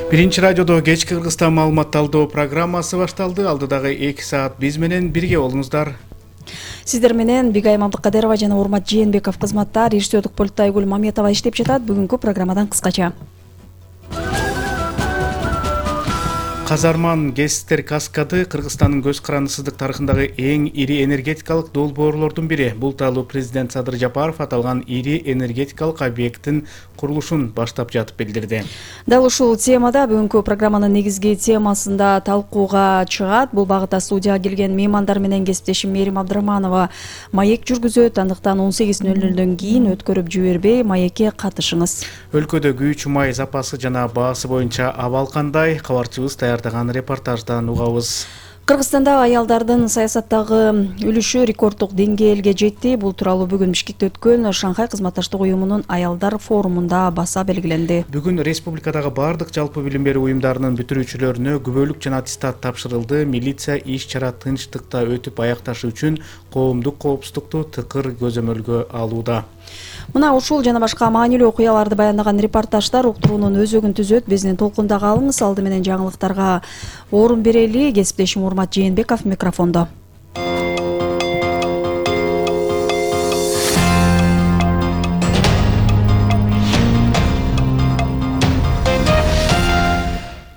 Биринчи радиодо кечки Кыргызстан маалымат талдоо программасы башталды. Алдыдагы 2 саат биз менен бирге болуңуздар. Сиздер менен Бигайым Абдыкадырова жана Урмат Жээнбеков кызматтар, режиссердик пультта Айгүл Маметова иштеп жатат. Бүгүнкү программадан кыскача. Казарман ГЭСтер каскады Кыргызстандын көз карандысыздык тарыхындагы эң ири энергетикалык долбоорлордун бири. Бул тууралуу президент Садыр Жапаров аталган ири энергетикалык объекттин курулушун баштап жатып билдирди. Дал ушул темада бүгүнкү программанын негизги темасында талкууга чыгат. Бул багытта студияга келген меймандар менен кесиптешим Мээрим Абдырахманова маек жүргүзөт. Андыктан 18:00 кийин өткөрүп жибербей маекке катышыңыз. Өлкөдө күйүүчү май запасы жана баасы боюнча абал кандай? Кабарчыбыз даярдаган репортаждан угабыз. Кыргызстанда аялдардын саясаттагы үлүшү рекорддук деңгээлге жетти. Бул тууралуу бүгүн Бишкекте өткөн Шанхай кызматташтык уюмунун аялдар форумунда баса белгиленди. Бүгүн республикадагы бардык жалпы билим берүү уюмдарынын бүтүрүүчүлөрүнө күбөлүк жана аттестат тапшырылды. Милиция иш-чара тынчтыкта өтүп аякташы үчүн коомдук коопсуздукту тыкыр көзөмөлгө алууда. Мына ушул жана башка маанилүү окуяларды баяндаган репортаждар уктуруунун өзөгүн түзөт. Биздин толкунда калыңыз. Алды менен жаңылыктарга орун берели. Кесиптешим Урмат Жээнбеков микрофондо.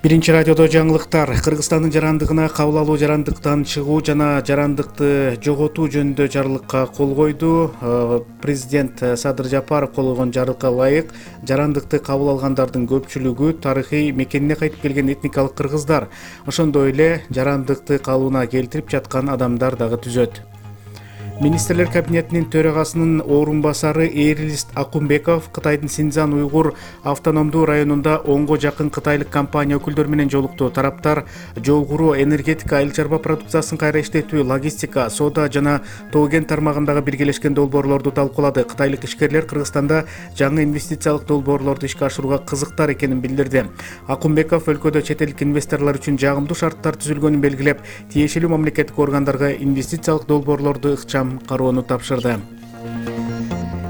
Биринчи радиодо жаңылыктар. Кыргызстандын жарандыгына кабыл алуу, жарандыктан чыгуу жана жарандыкты жоготуу жөнүндө жарлыкка кол койду. Президент Садыр Жапаров кол койгон жарлыкка ылайык жарандыкты кабыл алгандардын көпчүлүгү тарыхый мекенине кайтып келген этникалык кыргыздар. Ошондой эле жарандыкты калыбына келтирип жаткан адамдар дагы түзөт. Министрлер кабинетинин төрагасынын орун басары Эрлист Акунбеков Кытайдын Синьцзян уйгур автономдуу районунда 10го жакын кытайлык компания өкүлдөрү менен жолукту. Тараптар жогору энергетика, айыл чарба продукциясын кайра иштетүү, логистика, соода жана тоо-кен тармагындагы биргелешкен долбоорлорду талкуулады. Кытайлык ишкерлер Кыргызстанда жаңы инвестициялык долбоорлорду ишке ашырууга кызыктар экенин билдирди. Акунбеков өлкөдө чет элдик инвесторлор үчүн жагымдуу шарттар түзүлгөнүн белгилеп, тиешелүү мамлекеттик органдарга инвестициялык долбоорлорду ыкчам кароону тапшырды.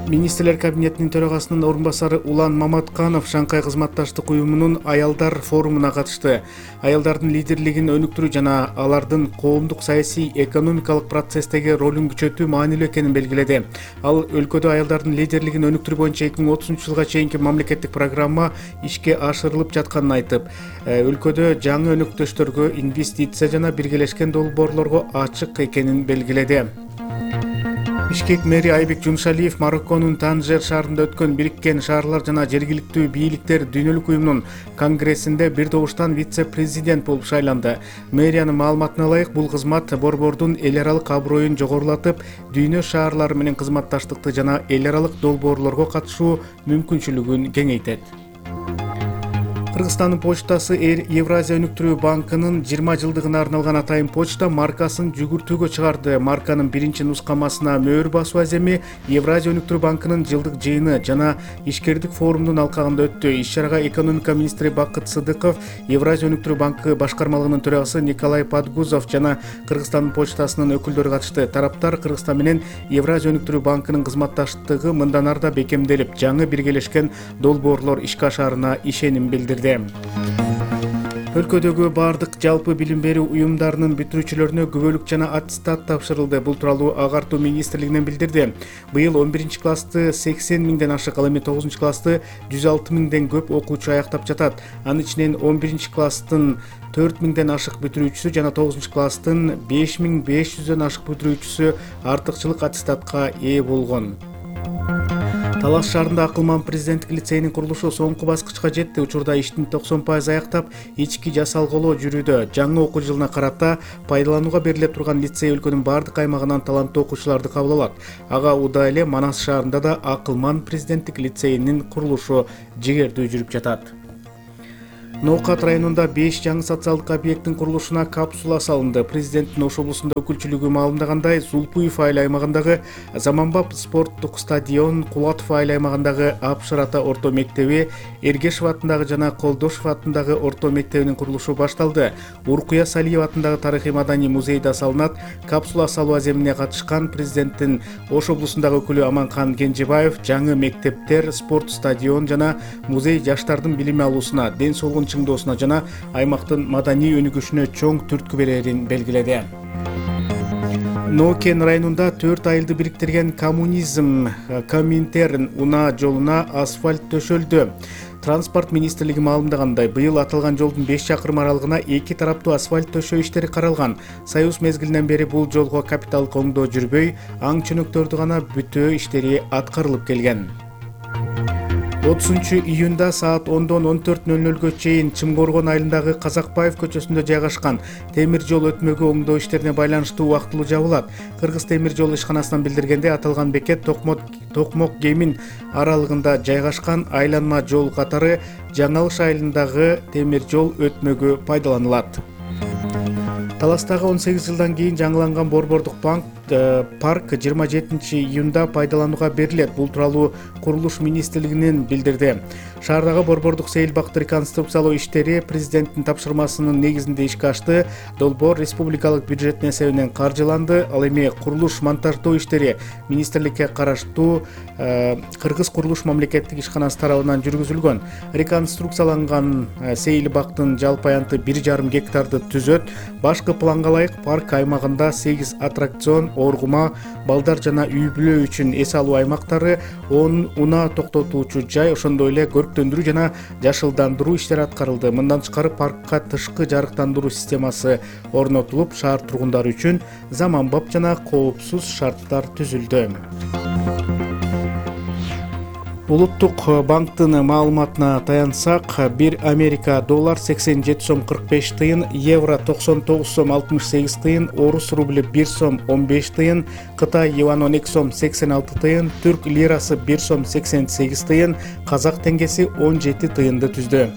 Министрлер кабинетинин төрагасынын орун басары Улан Маматканов Шанхай кызматташтык уюмунун аялдар форумуна катышты. Аялдардын лидерлигин өнүктүрүү жана алардын коомдук саясий экономикалык процесстеги ролун күчөтүү маанилүү экенин белгиледи. Ал өлкөдө аялдардын лидерлигин өнүктүрүү боюнча 2030-жылга чейинки мамлекеттик программа ишке ашырылып жатканын айтып, өлкөдө жаңы өнөктөштөргө инвестиция жана биргелешкен долбоорлорго ачык экенин белгиледи. Бишкек мэри Айбек Жумшалиев Марокконун Танжер шаарында өткөн Бириккен шаарлар жана жергиликтүү бийликтер дүйнөлүк уюмунун конгрессинде бир добуштан вице-президент болуп шайланды. Мэриянын маалыматына ылайык, бул кызмат борбордун эл аралык аброюн жогорулатып, дүйнө шаарлары менен кызматташтыкты жана эл аралык долбоорлорго катышуу мүмкүнчүлүгүн кеңейтет. Кыргызстандын почтасы Евразия өнүктүрүү банкынын 20 жылдыгына арналган атайын почта маркасын жүгүртүүгө чыгарды. Марканын биринчи нускамасына мөөр басуу аземи Евразия өнүктүрүү банкынын жылдык жыйыны жана ишкердик форумдун алкагында өттү. Иш-чарага экономика министри Бакыт Сыдыков, Евразия өнүктүрүү банкы башкармалыгынын төрагасы Николай Подгузов жана Кыргызстандын почтасынын өкүлдөрү катышты. Тараптар Кыргызстан менен Евразия өнүктүрүү банкынын кызматташтыгы мындан ары да бекемделип, жаңы биргелешкен долбоорлор ишке ашаарына ишеним билдирди. Өлкөдөгү бардык жалпы билим берүү уюмдарынын бүтүрүүчүлөрүнө күбөлүк жана аттестат тапшырылды. Бул тууралуу Агартуу министрлигинен билдирди. Быйыл 11-классты 80 миңден ашык, ал эми 9-классты 106 миңден көп окуучу аяктап жатат. Анын ичинен 11-класстын 4 миңден ашык бүтүрүүчүсү жана 9-класстын 5500дөн ашык бүтүрүүчүсү артыкчылык аттестатка ээ болгон. Талас шаарында Акылман президенттик лицейинин курулушу соңку баскычка жетти. Учурда иштин 90% аяктап, ички жасалголоо жүрүүдө. Жаңы окуу жылына карата пайдаланууга бериле турган лицей өлкөнүн бардык аймагынан таланттуу окуучуларды кабыл алат. Ага удаа эле Манас шаарында да Акылман президенттик лицейинин курулушу жигердүү жүрүп жатат. Ноокат районунда 5 жаңы социалдык объекттин курулушуна капсула салынды. Президенттин Ош облусунда өкүлчүлүгү маалымдагандай, Зулпуев айыл аймагындагы Заманбап спорттук стадион, Кулатов айыл аймагындагы Апшыр ата орто мектеби, Эргешев атындагы жана Колдошев атындагы орто мектебинин курулушу башталды. Уркуя Салиева атындагы тарыхый маданий музей да салынат. Капсула салуу аземине катышкан президенттин Ош облусундагы өкүлү Аманкан Кенжебаев жаңы мектептер, спорт стадион жана музей жаштардын билим алуусуна, ден соолугун чыңдоосуна жана аймактын маданий өнүгүшүнө чоң түрткү берерин белгиледи. Нокен районунда 4 айылды бириктирген коммунизм Коминтерн унаа жолуна асфальт төшөлдү. Транспорт министрлиги маалымдагандай, быйыл аталган жолдун 5 чакырым аралыгына 2 тараптуу асфальт төшөө иштери каралган. Союз мезгилинен бери бул жолго капиталдык оңдоо жүрбөй, аң чөнөктөрдү гана бүтөө иштери аткарылып келген. 30-июнда саат 10-14:00 чейин Чымкоргон айылындагы Казакбаев көчөсүндө жайгашкан темир жол өтмөгү оңдоо иштерине байланыштуу убактылуу жабылат. Кыргыз темир жол ишканасынан билдиргенде, аталган бекет Токмок Кемин аралыгында жайгашкан айланма жол катары Жаңалыш айылындагы темир жол өтмөгү пайдаланылат. Таластагы 18 жылдан кийин жаңыланган Борбордук парк 27-июнда пайдаланууга берилет. Бул тууралуу Курулуш министрлигинин билдирди. Шаардагы Борбордук сейил бакты реконструкциялоо иштери президенттин тапшырмасынын негизинде ишке ашты. Долбоор республикалык бюджеттин эсебинен каржыланды. Ал эми курулуш монтаждоо иштери министрликке караштуу Кыргыз курулуш мамлекеттик ишканасы тарабынан жүргүзүлгөн. Реконструкцияланган сейил бактын жалпы аянты 1,5 гектарды түзөт. Башкы планга ылайык парк аймагында 8 аттракцион, оргума, балдар жана үй-бүлө үчүн эс алуу аймактары, 10 унаа токтотуучу жай, ошондой эле көрктөндүрүү жана жашылдандыруу иштери аткарылды. Мындан тышкары паркка тышкы жарыктандыруу системасы орнотулуп, шаар тургундары үчүн заманбап жана коопсуз шарттар түзүлдү. Улуттук банктын маалыматына таянсак, 1 Америка доллар 87 сом 45 тыйын, евро 99 сом 68 тыйын, орус рубль 1 сом 15 тыйын, Кытай юаны 12 сом 86 тыйын, түрк лирасы 1 сом 88 тыйын, казак теңгеси 17 тыйынды түздү.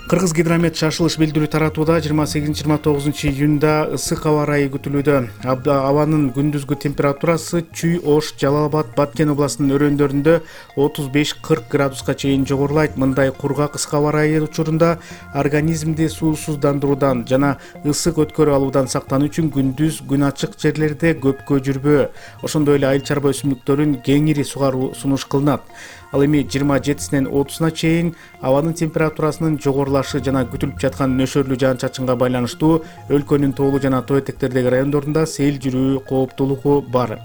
Кыргыз гидромет шашылыш билдирүү таратууда 28-29 июнда ысык аба ырайы күтүлүүдө. Абанын күндүзгү температурасы Чүй, Ош, Жалал-Абад, Баткен областынын өрөөндөрүндө 35-40 градуска чейин жогорулайт. Мындай кургак ысык аба ырайы учурунда организмди суусуздандыруудан жана ысык өткөрүп алуудан сактануу үчүн күндүз күн ачык жерлерде көпкө жүрбөө, ошондой эле айыл чарба өсүмдүктөрүн кеңири сугаруу сунуш кылынат. Ал эми 27-синен 30-на чейин абанын температурасынын жогорулашы жана күтүлүп жаткан нөшөрлүү жаан-чачынга байланыштуу өлкөнүн тоолуу жана тоо этектердеги райондорунда сел жүрүү кооптуулугу бар.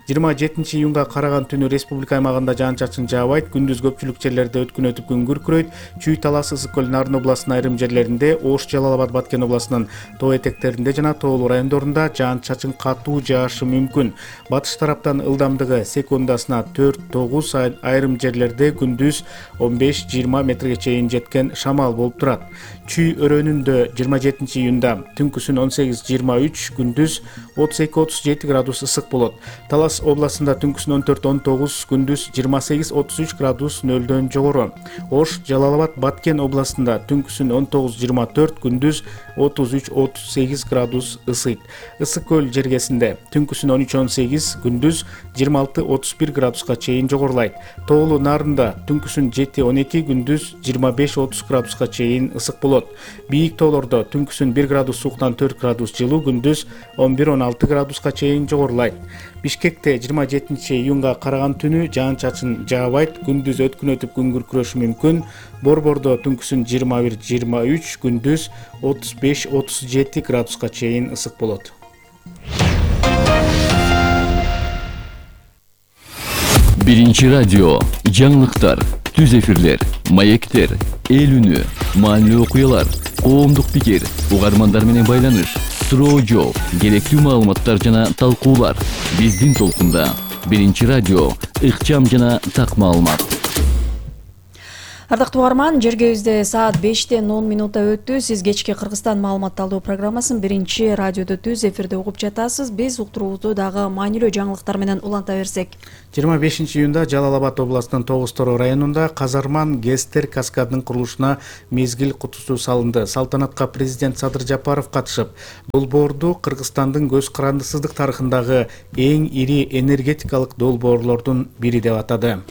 27-июнга караган түнү республика аймагында жаан-чачын жаабайт, күндүз көпчүлүк жерлерде өткүн өтүп күн күркүрөйт. Чүй, Талас, Ысык көл, Нарын областынын айрым жерлеринде, Ош, Жалал-Абад, Баткен областынын тоо этектеринде жана тоолуу райондорунда жаан-чачын катуу жаашы мүмкүн. Батыш тараптан ылдамдыгы секундасына 4-9, айрым жерлерде күндүз 15-20 метрге чейин жеткен шамал болуп турат. Чүй өрөөнүндө 27-июнда түнкүсүн 18-23, күндүз 32-37 градус ысык болот. Талас областында түнкүсүн 14-19, күндүз 28-33 градус нөлдөн жогору. Ош, Жалал-Абад, Баткен областында түнкүсүн 19-24, күндүз 33-38 градус ысыйт. Ысык көл жергесинде түнкүсүн 13-18, күндүз 26-31 градуска чейин жогорулайт. Тоолуу Нарында түнкүсүн 7-12, күндүз 25-30 градуска чейин ысык болот. Бийик тоолордо түнкүсүн 1 градус сууктан 4 градус жылуу, күндүз 11-16 градуска чейин жогорулайт. Бишкекте 27-июнга караган түнү жаан-чачын жаабайт, күндүз өткүн өтүп күн күркүрөшү мүмкүн. Борбордо түнкүсүн 21-23, күндүз 35-37 градуска чейин ысык болот. Биринчи радио, жаңылыктар, түз эфирлер, маектер, эл үнү, маанилүү окуялар, коомдук пикир, угармандар менен байланыш, суроо жооп, керектүү маалыматтар жана талкуулар. Биздин толкунда. Биринчи радио, ыкчам жана так маалымат. Ардактуу угарман, жергебизде саат 5:10 өттү. Сиз кечки Кыргызстан маалыматталуу программасын биринчи радиодо түз эфирде угуп жатасыз. Биз уктуруубузду дагы маанилүү жаңылыктар менен уланта берсек. 25-июнда Жалал-Абад областынын Тогуз-Тороо районунда Казарман Гестер каскадынын курулушуна мезгил кутусу салынды. Салтанатка президент Садыр Жапаров катышып, долбоорду Кыргызстандын көз карандысыздык тарыхындагы эң ири энергетикалык долбоорлордун бири деп атады.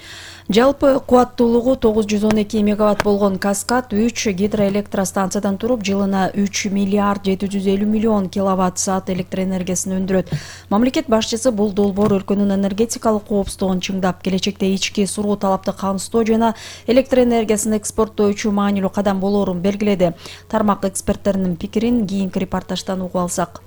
Жалпы кубаттуулугу 912 мегаватт болгон Каскад 3 гидроэлектростанциядан туруп, жылына 3 миллиард 750 миллион киловатт саат электр энергиясын өндүрөт. Мамлекет башчысы бул долбоор өлкөнүн энергетикалык коопсуздугун чыңдап, келечекте ички суроо талапты камсыздоо жана электр энергиясын экспорттоочу маанилүү кадам болоорун белгиледи. Тармак эксперттеринин пикирин кийинки репортаждан угуп алсак.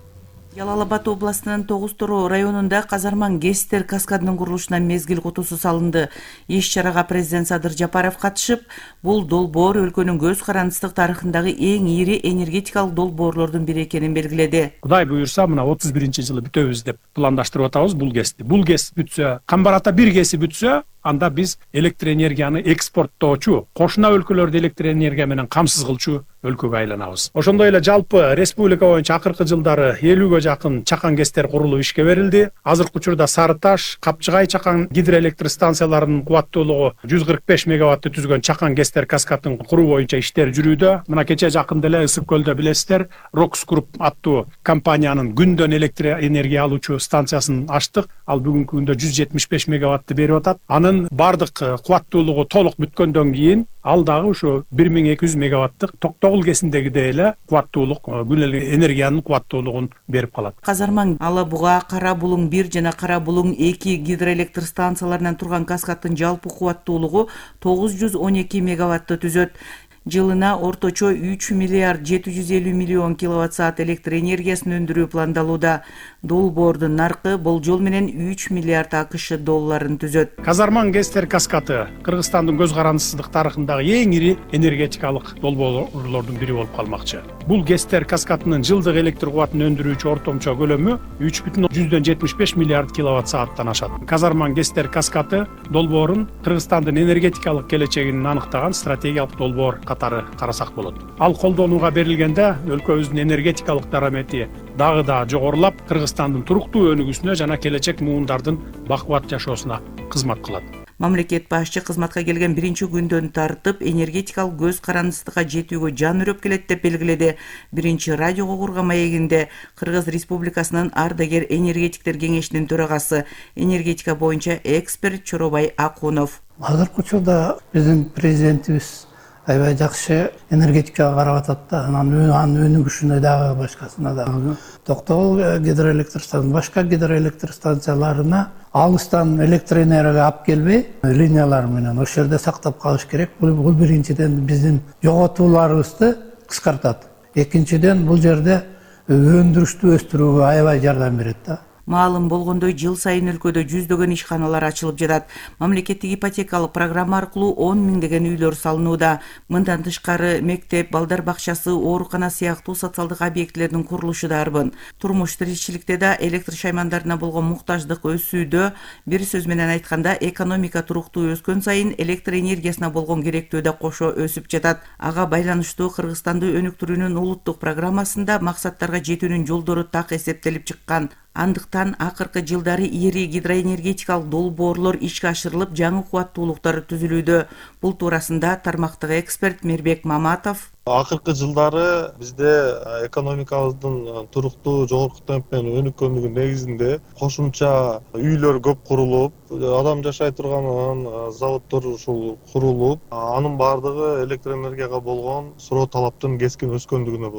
Жалал Абад областынын Тогуз Тороо районунда Казарман ГЭСтер каскадынын курулушуна мезгил кутусу салынды. Иш-чарага президент Садыр Жапаров катышып, бул долбоор өлкөнүн көз карандысыздык тарыхындагы эң ири энергетикалык долбоорлордун бири экенин белгиледи. Кудай буюрса, мына 31-жылы бүтөбүз деп пландаштырып атабыз бул ГЭСти. Бул ГЭС бүтсө, Камбарата бир ГЭСи бүтсө, анда биз электр энергияны экспорттоочу, кошуна өлкөлөрдү электр энергия менен камсыз кылчу өлкөгө айланабыз. Ошондой эле жалпы республика боюнча акыркы жылдары 50ге жакын чакан ГЭСтер курулуп ишке берилди. Азыркы учурда Сары Таш, Капчыгай чакан гидроэлектр станцияларынын кубаттуулугу 145 мегаватты түзгөн чакан ГЭСтер каскадын куруу боюнча иштер жүрүүдө. Мына кече жакында эле Ысык көлдө билесиздер, Рокс Груп аттуу компаниянын күндөн электр энергия алуучу станциясын ачтык. Ал бүгүнкү күндө 175 мегаватты берип атат. Анын бардык кубаттуулугу толук бүткөндөн кийин ал дагы ошо 1200 мегаваттык Токтогул ГЭСиндегидей эле кубаттуулук, күн энергиянын кубаттуулугун берип калат. Казарман, Ала Буга, Кара Булуң 1 жана Кара Булуң 2 гидроэлектр станцияларынан турган каскаддын жалпы кубаттуулугу 912 мегаватты түзөт. Жылына орточо 3 миллиард 750 миллион киловатт саат электр энергиясын өндүрүү пландалууда. Долбоордун наркы болжол менен 3 миллиард АКШ долларын түзөт. Казарман ГЭСтер каскады Кыргызстандын көз карандысыздык тарыхындагы эң ири энергетикалык долбоорлордун бири болуп калмакчы. Бул ГЭСтер каскадынын жылдык электр кубатын өндүрүүчү ортомчо көлөмү 3,75 миллиард киловатт сааттан ашат. Казарман ГЭСтер каскады долбоорун Кыргызстандын энергетикалык келечегин аныктаган стратегиялык долбоор катары карасак болот. Ал колдонууга берилгенде өлкөбүздүн энергетикалык дарамети дагы да жогорулап, Кыргызстандын туруктуу өнүгүүсүнө жана келечек муундардын бакубат жашоосуна кызмат кылат. Мамлекет башчы кызматка келген биринчи күндөн тартып энергетикалык көз карандысыздыкка жетүүгө жан үрөп келет деп белгиледи. Биринчи радиого курган маегинде Кыргыз Республикасынын ардагер энергетиктер кеңешинин төрагасы, энергетика боюнча эксперт Чоробай Акунов. Азыркы учурда биздин президентибиз аябай жакшы энергетикага карап атат да, анын өнүгүшүнө дагы башкасына дагы. Токтогул гидроэлектр станциясы, башка гидроэлектр станцияларына алыстан электр энергия алып келбей, линиялар менен ошол жерде сактап калыш керек. Бул биринчиден биздин жоготууларыбызды кыскартат. Экинчиден бул жерде өндүрүштү өстүрүүгө аябай жардам берет да. Маалым болгондой, жыл сайын өлкөдө жүздөгөн ишканалар ачылып жатат. Мамлекеттик ипотекалык программа аркылуу 10 миңдеген үйлөр салынууда. Мындан тышкары мектеп, балдар бакчасы, оорукана сыяктуу социалдык объектилердин курулушу да арбын. Турмуш тиричиликте да электр шаймандарына болгон муктаждык өсүүдө. Бир сөз менен айтканда, экономика туруктуу өскөн сайын электр энергиясына болгон керектөө да кошо өсүп жатат. Ага байланыштуу Кыргызстанды өнүктүрүүнүн улуттук программасында максаттарга жетүүнүн жолдору так эсептелип чыккан. Андыктан акыркы жылдары ири гидроэнергетикалык долбоорлор ишке ашырылып, жаңы кубаттуулуктар түзүлүүдө. Бул туурасында тармактагы эксперт Мирбек Маматов акыркы жылдары бизде экономикабыздын туруктуу жогорку темп менен өнүккөндүгүнүн негизинде кошумча үйлөр көп курулуп, адам жашай турган заводдор ушул курулуп, анын бардыгы электр энергияга болгон суроо талаптын кескин өскөндүгүнө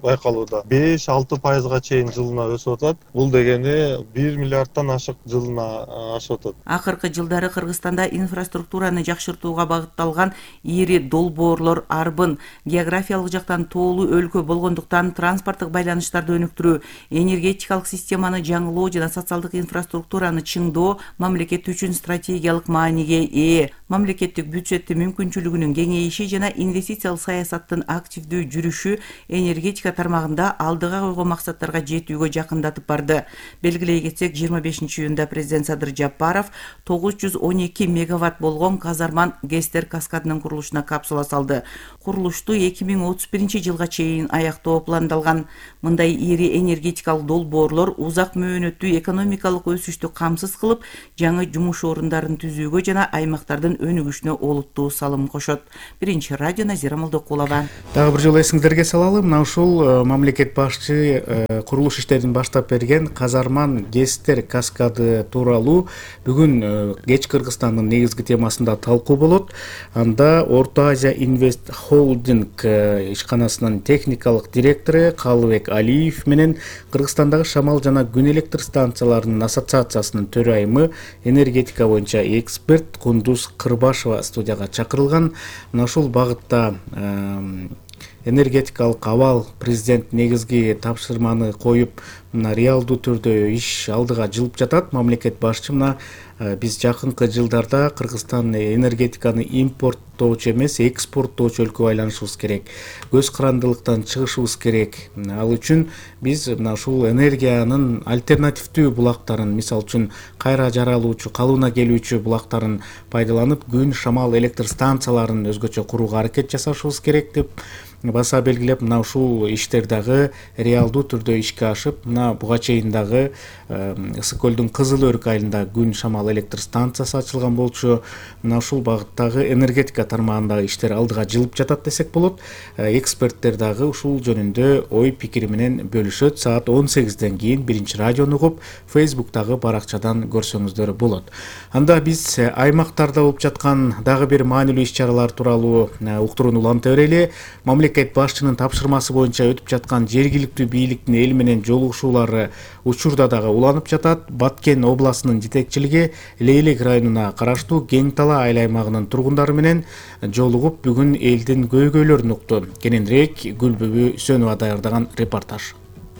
байкалууда. 5-6% чейин жылына өсүп атат. Бул дегени 1 миллиардтан ашык жылына ашып атат. Акыркы жылдары Кыргызстанда инфраструктураны жакшыртууга багытталган ири долбоорлор арбын. Географиялык жактан тоолуу өлкө болгондуктан транспорттук байланыштарды өнүктүрүү, энергетикалык системаны жаңылоо жана социалдык инфраструктураны чыңдоо мамлекет үчүн стратегиялык мааниге ээ. Мамлекеттик бюджеттин мүмкүнчүлүгүнүн кеңейиши жана инвестициялык саясаттын активдүү жүрүшү энергетика тармагында алдыга койгон максаттарга жетүүгө жакындатып барды. Белгилей кетсек, 25-июнда президент Садыр Жапаров 912 мегаватт болгон Казарман ГЭСтер каскадынын курулушуна капсула салды. Курулушту 2031 чейин аяктоо пландалган. Мындай ири энергетикалык долбоорлор узак мөөнөттүү экономикалык өсүштү камсыз кылып, жаңы жумуш орундарын түзүүгө жана аймактардын өнүгүшүнө олуттуу салым кошот. Биринчи радио Назира Молдокулова. Дагы бир жолу эсиңиздерге салалы, мына ушул мамлекет башчы курулуш иштерин баштап берген Казарман ГЭСтер каскады тууралуу бүгүн кеч Кыргызстандын негизги темасында талкуу болот. Анда Орто Азия Инвест Холдинг ишканасынын техникалык директору Калыбек Алиев менен Кыргызстандагы шамал жана күн электр станцияларынын ассоциациясынын төрайымы, энергетика боюнча эксперт Кундуз Кырбашева студияга чакырылган. Мына ушул багытта энергетикалык абал президент негизги тапшырманы коюп, мына реалдуу түрдө иш алдыга жылып жатат. Мамлекет башчы мына биз жакынкы жылдарда Кыргызстан энергетиканы импорттоочу эмес, экспорттоочу өлкөгө айланышыбыз керек. Көз карандылыктан чыгышыбыз керек. Ал үчүн биз мына ушул энергиянын альтернативдүү булактарын, мисалы үчүн кайра жаралуучу, калыбына келүүчү булактарын пайдаланып, күн, шамал электр станцияларын өзгөчө курууга аракет жасашыбыз керек деп баса белгилеп, мына ушул иштер дагы реалдуу түрдө ишке ашып, мына буга чейин дагы Ысык көлдүн Кызыл Өрүк айылында күн, шамал электр станциясы ачылган болчу. Мына ушул багыттагы энергетика тармагындагы иштер алдыга жылып жатат десек болот. Эксперттер дагы ушул жөнүндө ой пикири менен бөлүшөт. Саат 18ден кийин биринчи радиону угуп, Facebook'тагы баракчадан көрсөңүздөр болот. Анда биз аймактарда болуп жаткан дагы бир маанилүү иш-чаралар тууралуу уктурууну уланта берели. Мамлекет башчынын тапшырмасы боюнча өтүп жаткан жергиликтүү бийликтин эл менен жолугушуулары учурда дагы уланып жатат. Баткен областынын жетекчилиги Лейлек районуна караштуу Кең Тала айыл аймагынын тургундары менен жолугуп, бүгүн элдин көйгөйлөрүн укту. Кененирээк Гүлбүбү Сөнова даярдаган репортаж.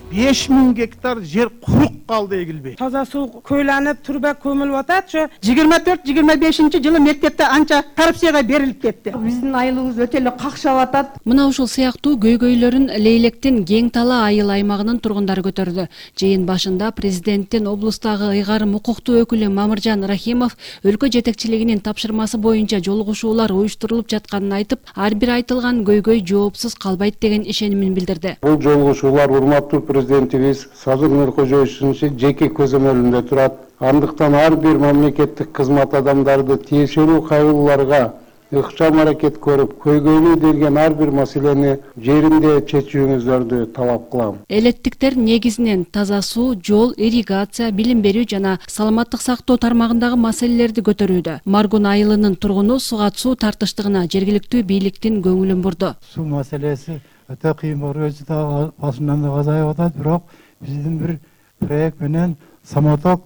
5000 гектар жер курук калды эгилбей. Таза суу көйлөнүп, турба көмүлүп атат. 24-25 жылы мектепте анча коррупцияга берилип кетти. Биздин айылыбыз өтө эле какшап атат. Мына ушул сыяктуу көйгөйлөрүн Лейлектин Кең Тала айыл аймагынын тургундары көтөрдү. Жыйын башында президенттин облустагы ыйгарым укуктуу өкүлү Мамыржан Рахимов өлкө жетекчилигинин тапшырмасы боюнча жолугушуулар уюштурулуп жатканын айтып, ар бир айтылган көйгөй жоопсуз калбайт деген ишенимин билдирди. Бул жолугушуулар урматтуу президентибиз Садыр Нуркожоевичтин жеке көзөмөлүндө турат. Андыктан ар бир мамлекеттик кызмат адамдарды тиешелүү кайгыларга ыкчам аракет көрүп, көйгөйлүү деген ар бир маселени жеринде чечүүңүздөрдү талап кылам. Элеттиктер негизинен таза суу, жол, ирригация, билим берүү жана саламаттык сактоо тармагындагы маселелерди көтөрүүдө. Маргун айылынын тургуну сугат суу тартыштыгына жергиликтүү бийликтин көңүлүн бурду. Суу маселеси өтө кыйын болуп да башынан да азайып атат, бирок биздин бир проект менен самоток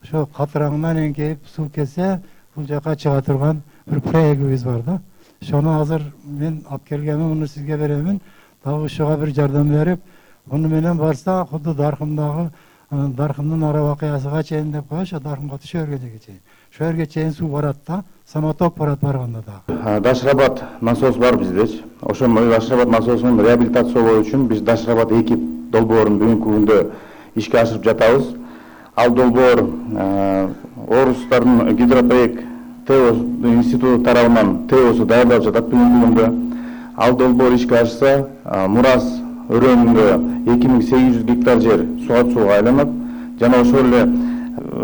ошо катыраңынан эңкейип суу келсе, бул жака чыга турган бир проектибиз бар да. Ошону азыр мен алып келгенмин, муну сизге беремин. Дагы ошого бир жардам берип, муну менен барса, кудду Даркымдын ара вакыясыга чейин деп коюш, Даркымга түшө бергенге чейин. Ошо жерге чейин суу барат да, самоток барат барганда дагы. Дашрабад насос бар биздечи. Ошо Дашрабад насосун реабилитациялоо үчүн биз Дашрабад 2 долбоорун бүгүнкү күндө ишке ашырып жатабыз. Ал долбоор орустардын гидропроект ТЭО институту тарабынан ТЭОсу даярдалып жатат бүгүнкү күндө. Ал долбоор ишке ашса, Мурас өрөөнүндө 2800 гектар жер сугат сууга айланат. Жана ошол эле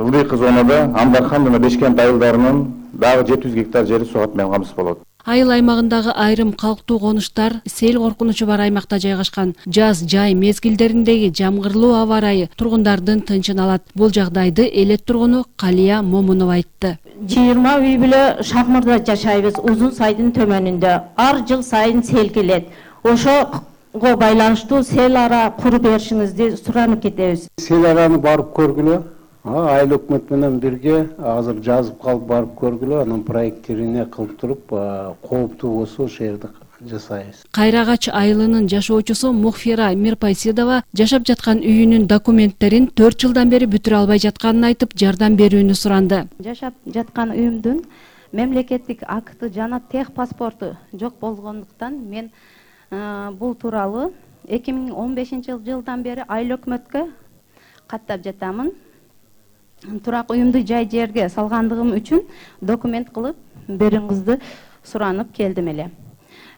ылдыйкы зонада Амбархан жана Бешкент айылдарынын дагы 700 гектар жери сугат менен камсыз болот. Айыл аймагындагы айрым калктуу конуштар сел коркунучу бар аймакта жайгашкан. Жаз жай мезгилдериндеги жамгырлуу аба ырайы тургундардын тынчын алат. Бул жагдайды элет тургуну Калия Момунова айтты. 20 үй бүлө Шакмырда жашайбыз, Узун сайдын төмөнүндө. Ар жыл сайын сел келет. Ошого байланыштуу сел ара куруп беришиңизди суранып кетебиз. Сел араны барып көргүлө. Айыл өкмөт менен бирге азыр жазып калып барып көргүлө, анын проекттерине кылып туруп, кооптуу болсо ошол жерде жасайбыз. Кайрагач айылынын жашоочусу Мухфира Мирпайсидова жашап жаткан үйүнүн документтерин 4 жылдан бери бүтүрө албай жатканын айтып, жардам берүүнү суранды. Жашап жаткан үйүмдүн мемлекеттик акты жана тех паспорту жок болгондуктан мен бул тууралуу 2015-жылдан бери айыл өкмөткө каттап жатамын. Турак уюмду жай жерге салгандыгым үчүн документ кылып берүүңүздү суранып келдим эле.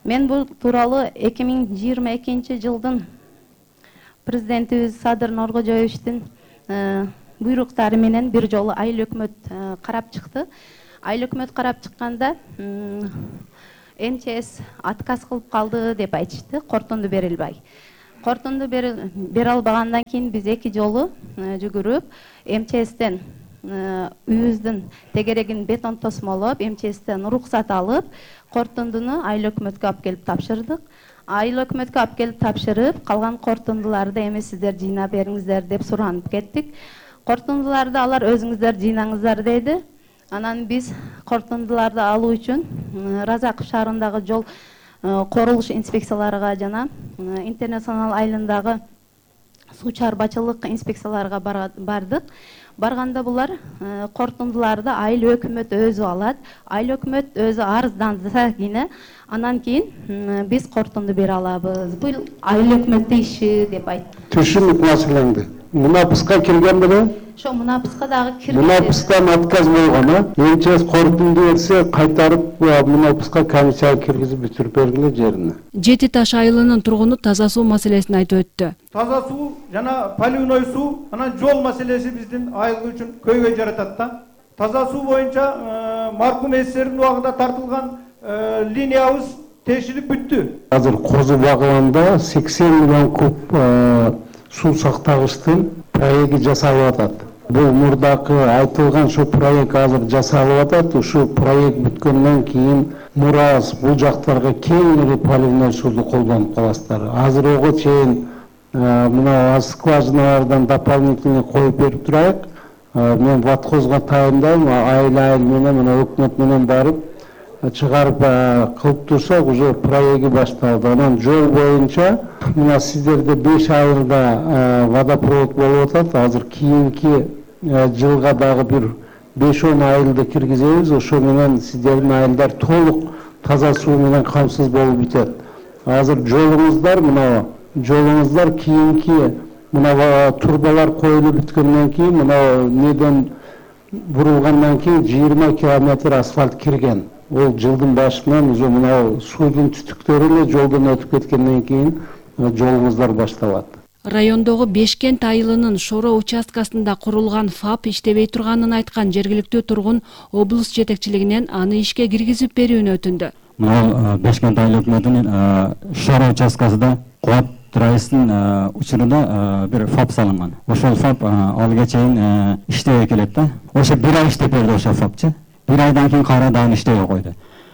Мен бул тууралуу 2022 жылдын президентибиз Садыр Нуркожоевичтин буйруктары менен бир жолу айыл өкмөт карап чыкты. Айыл өкмөт карап чыкканда МЧС отказ кылып калды деп айтышты, корутунду бере албай. Корутунду бере албагандан кийин биз 2 жолу жүгүрүп МЧСтен үйүбүздүн тегерегин бетон тосмолоп, МЧСтен уруксат алып, корутундуну айыл өкмөткө алып келип тапшырдык. Айыл өкмөткө алып келип тапшырып, калган корутундуларды эми сиздер жыйнап бериңиздер деп суранып кеттик. Корутундуларды алар өзүңүздөр жыйнаңыздар деди. Анан биз корутундуларды алуу үчүн Разаков шаарындагы жол курулуш инспекцияларга жана Интернационал айылындагы суу чарбачылык инспекцияларга бардык. Барганда булар корутундуларды айыл өкмөт өзү алат. Айыл өкмөт өзү арыздандыса кийин анан кийин биз корутунду бере алабыз. Бул айыл өкмөттүн иши деп айтты. Түшүнүп маселеңди. Мунапыска кирген беле? Ошо мунапыска дагы кирген. Мунапыстан отказ болгон, МЧС корутунду берсе, кайтарып мунапыска комиссия киргизип бүтүрүп бергиле жерине. Жети Таш айылынын тургуну таза суу маселесин айтып өттү. Таза суу жана поливной суу, анан жол маселеси биздин айыл үчүн көйгөй жаратат да. Таза суу боюнча маркум СССРдин убагында тартылган линиябыз тешилип бүттү. Азыр Козу багында 80 миллион куб суу сактагычтын проекти жасалып атат. Бул мурдакы айтылган ошо проект азыр жасалып атат. Ушу проект бүткөндөн кийин Мурас бул жактарга кеңири поливной сууну колдонуп каласыздар. Азыр ого чейин мына скважиналардан дополнительный коюп берип турайык. Мен ватхозго тайындайм, айыл менен мына өкмөт менен барып чыгарып кылып турсак, уже проекти башталды. Анан жол боюнча мына сиздерде 5 айылда водопровод болуп атат. Азыр кийинки жылга дагы бир 5-10 айылды киргизебиз. Ошо менен сиздердин айылдар толук таза суу менен камсыз болуп бүтөт. Азыр жолуңуздар кийинки мына турбалар коюлуп бүткөндөн кийин мына неден бурулгандан кийин 20 километр асфальт кирген. Ол жылдын башынан уже мына суудун түтүктөрү эле жолдон өтүп кеткенден кийин жолуңуздар башталат. Райондогу Бешкент айылынын Шоро участкасында курулган ФАП иштебей турганын айткан жергиликтүү тургун облус жетекчилигинен аны ишке киргизип берүүнү өтүндү. Мына Бешкент айыл өкмөтүнүн Шоро участкасында Кубат райыстын учурунда бир ФАП салынган. Ошол ФАП алга чейин иштебей келет да. Ошо бир ай иштеп берди ошол ФАПчы. Bir aydan keyin kara dağın işteye koydu.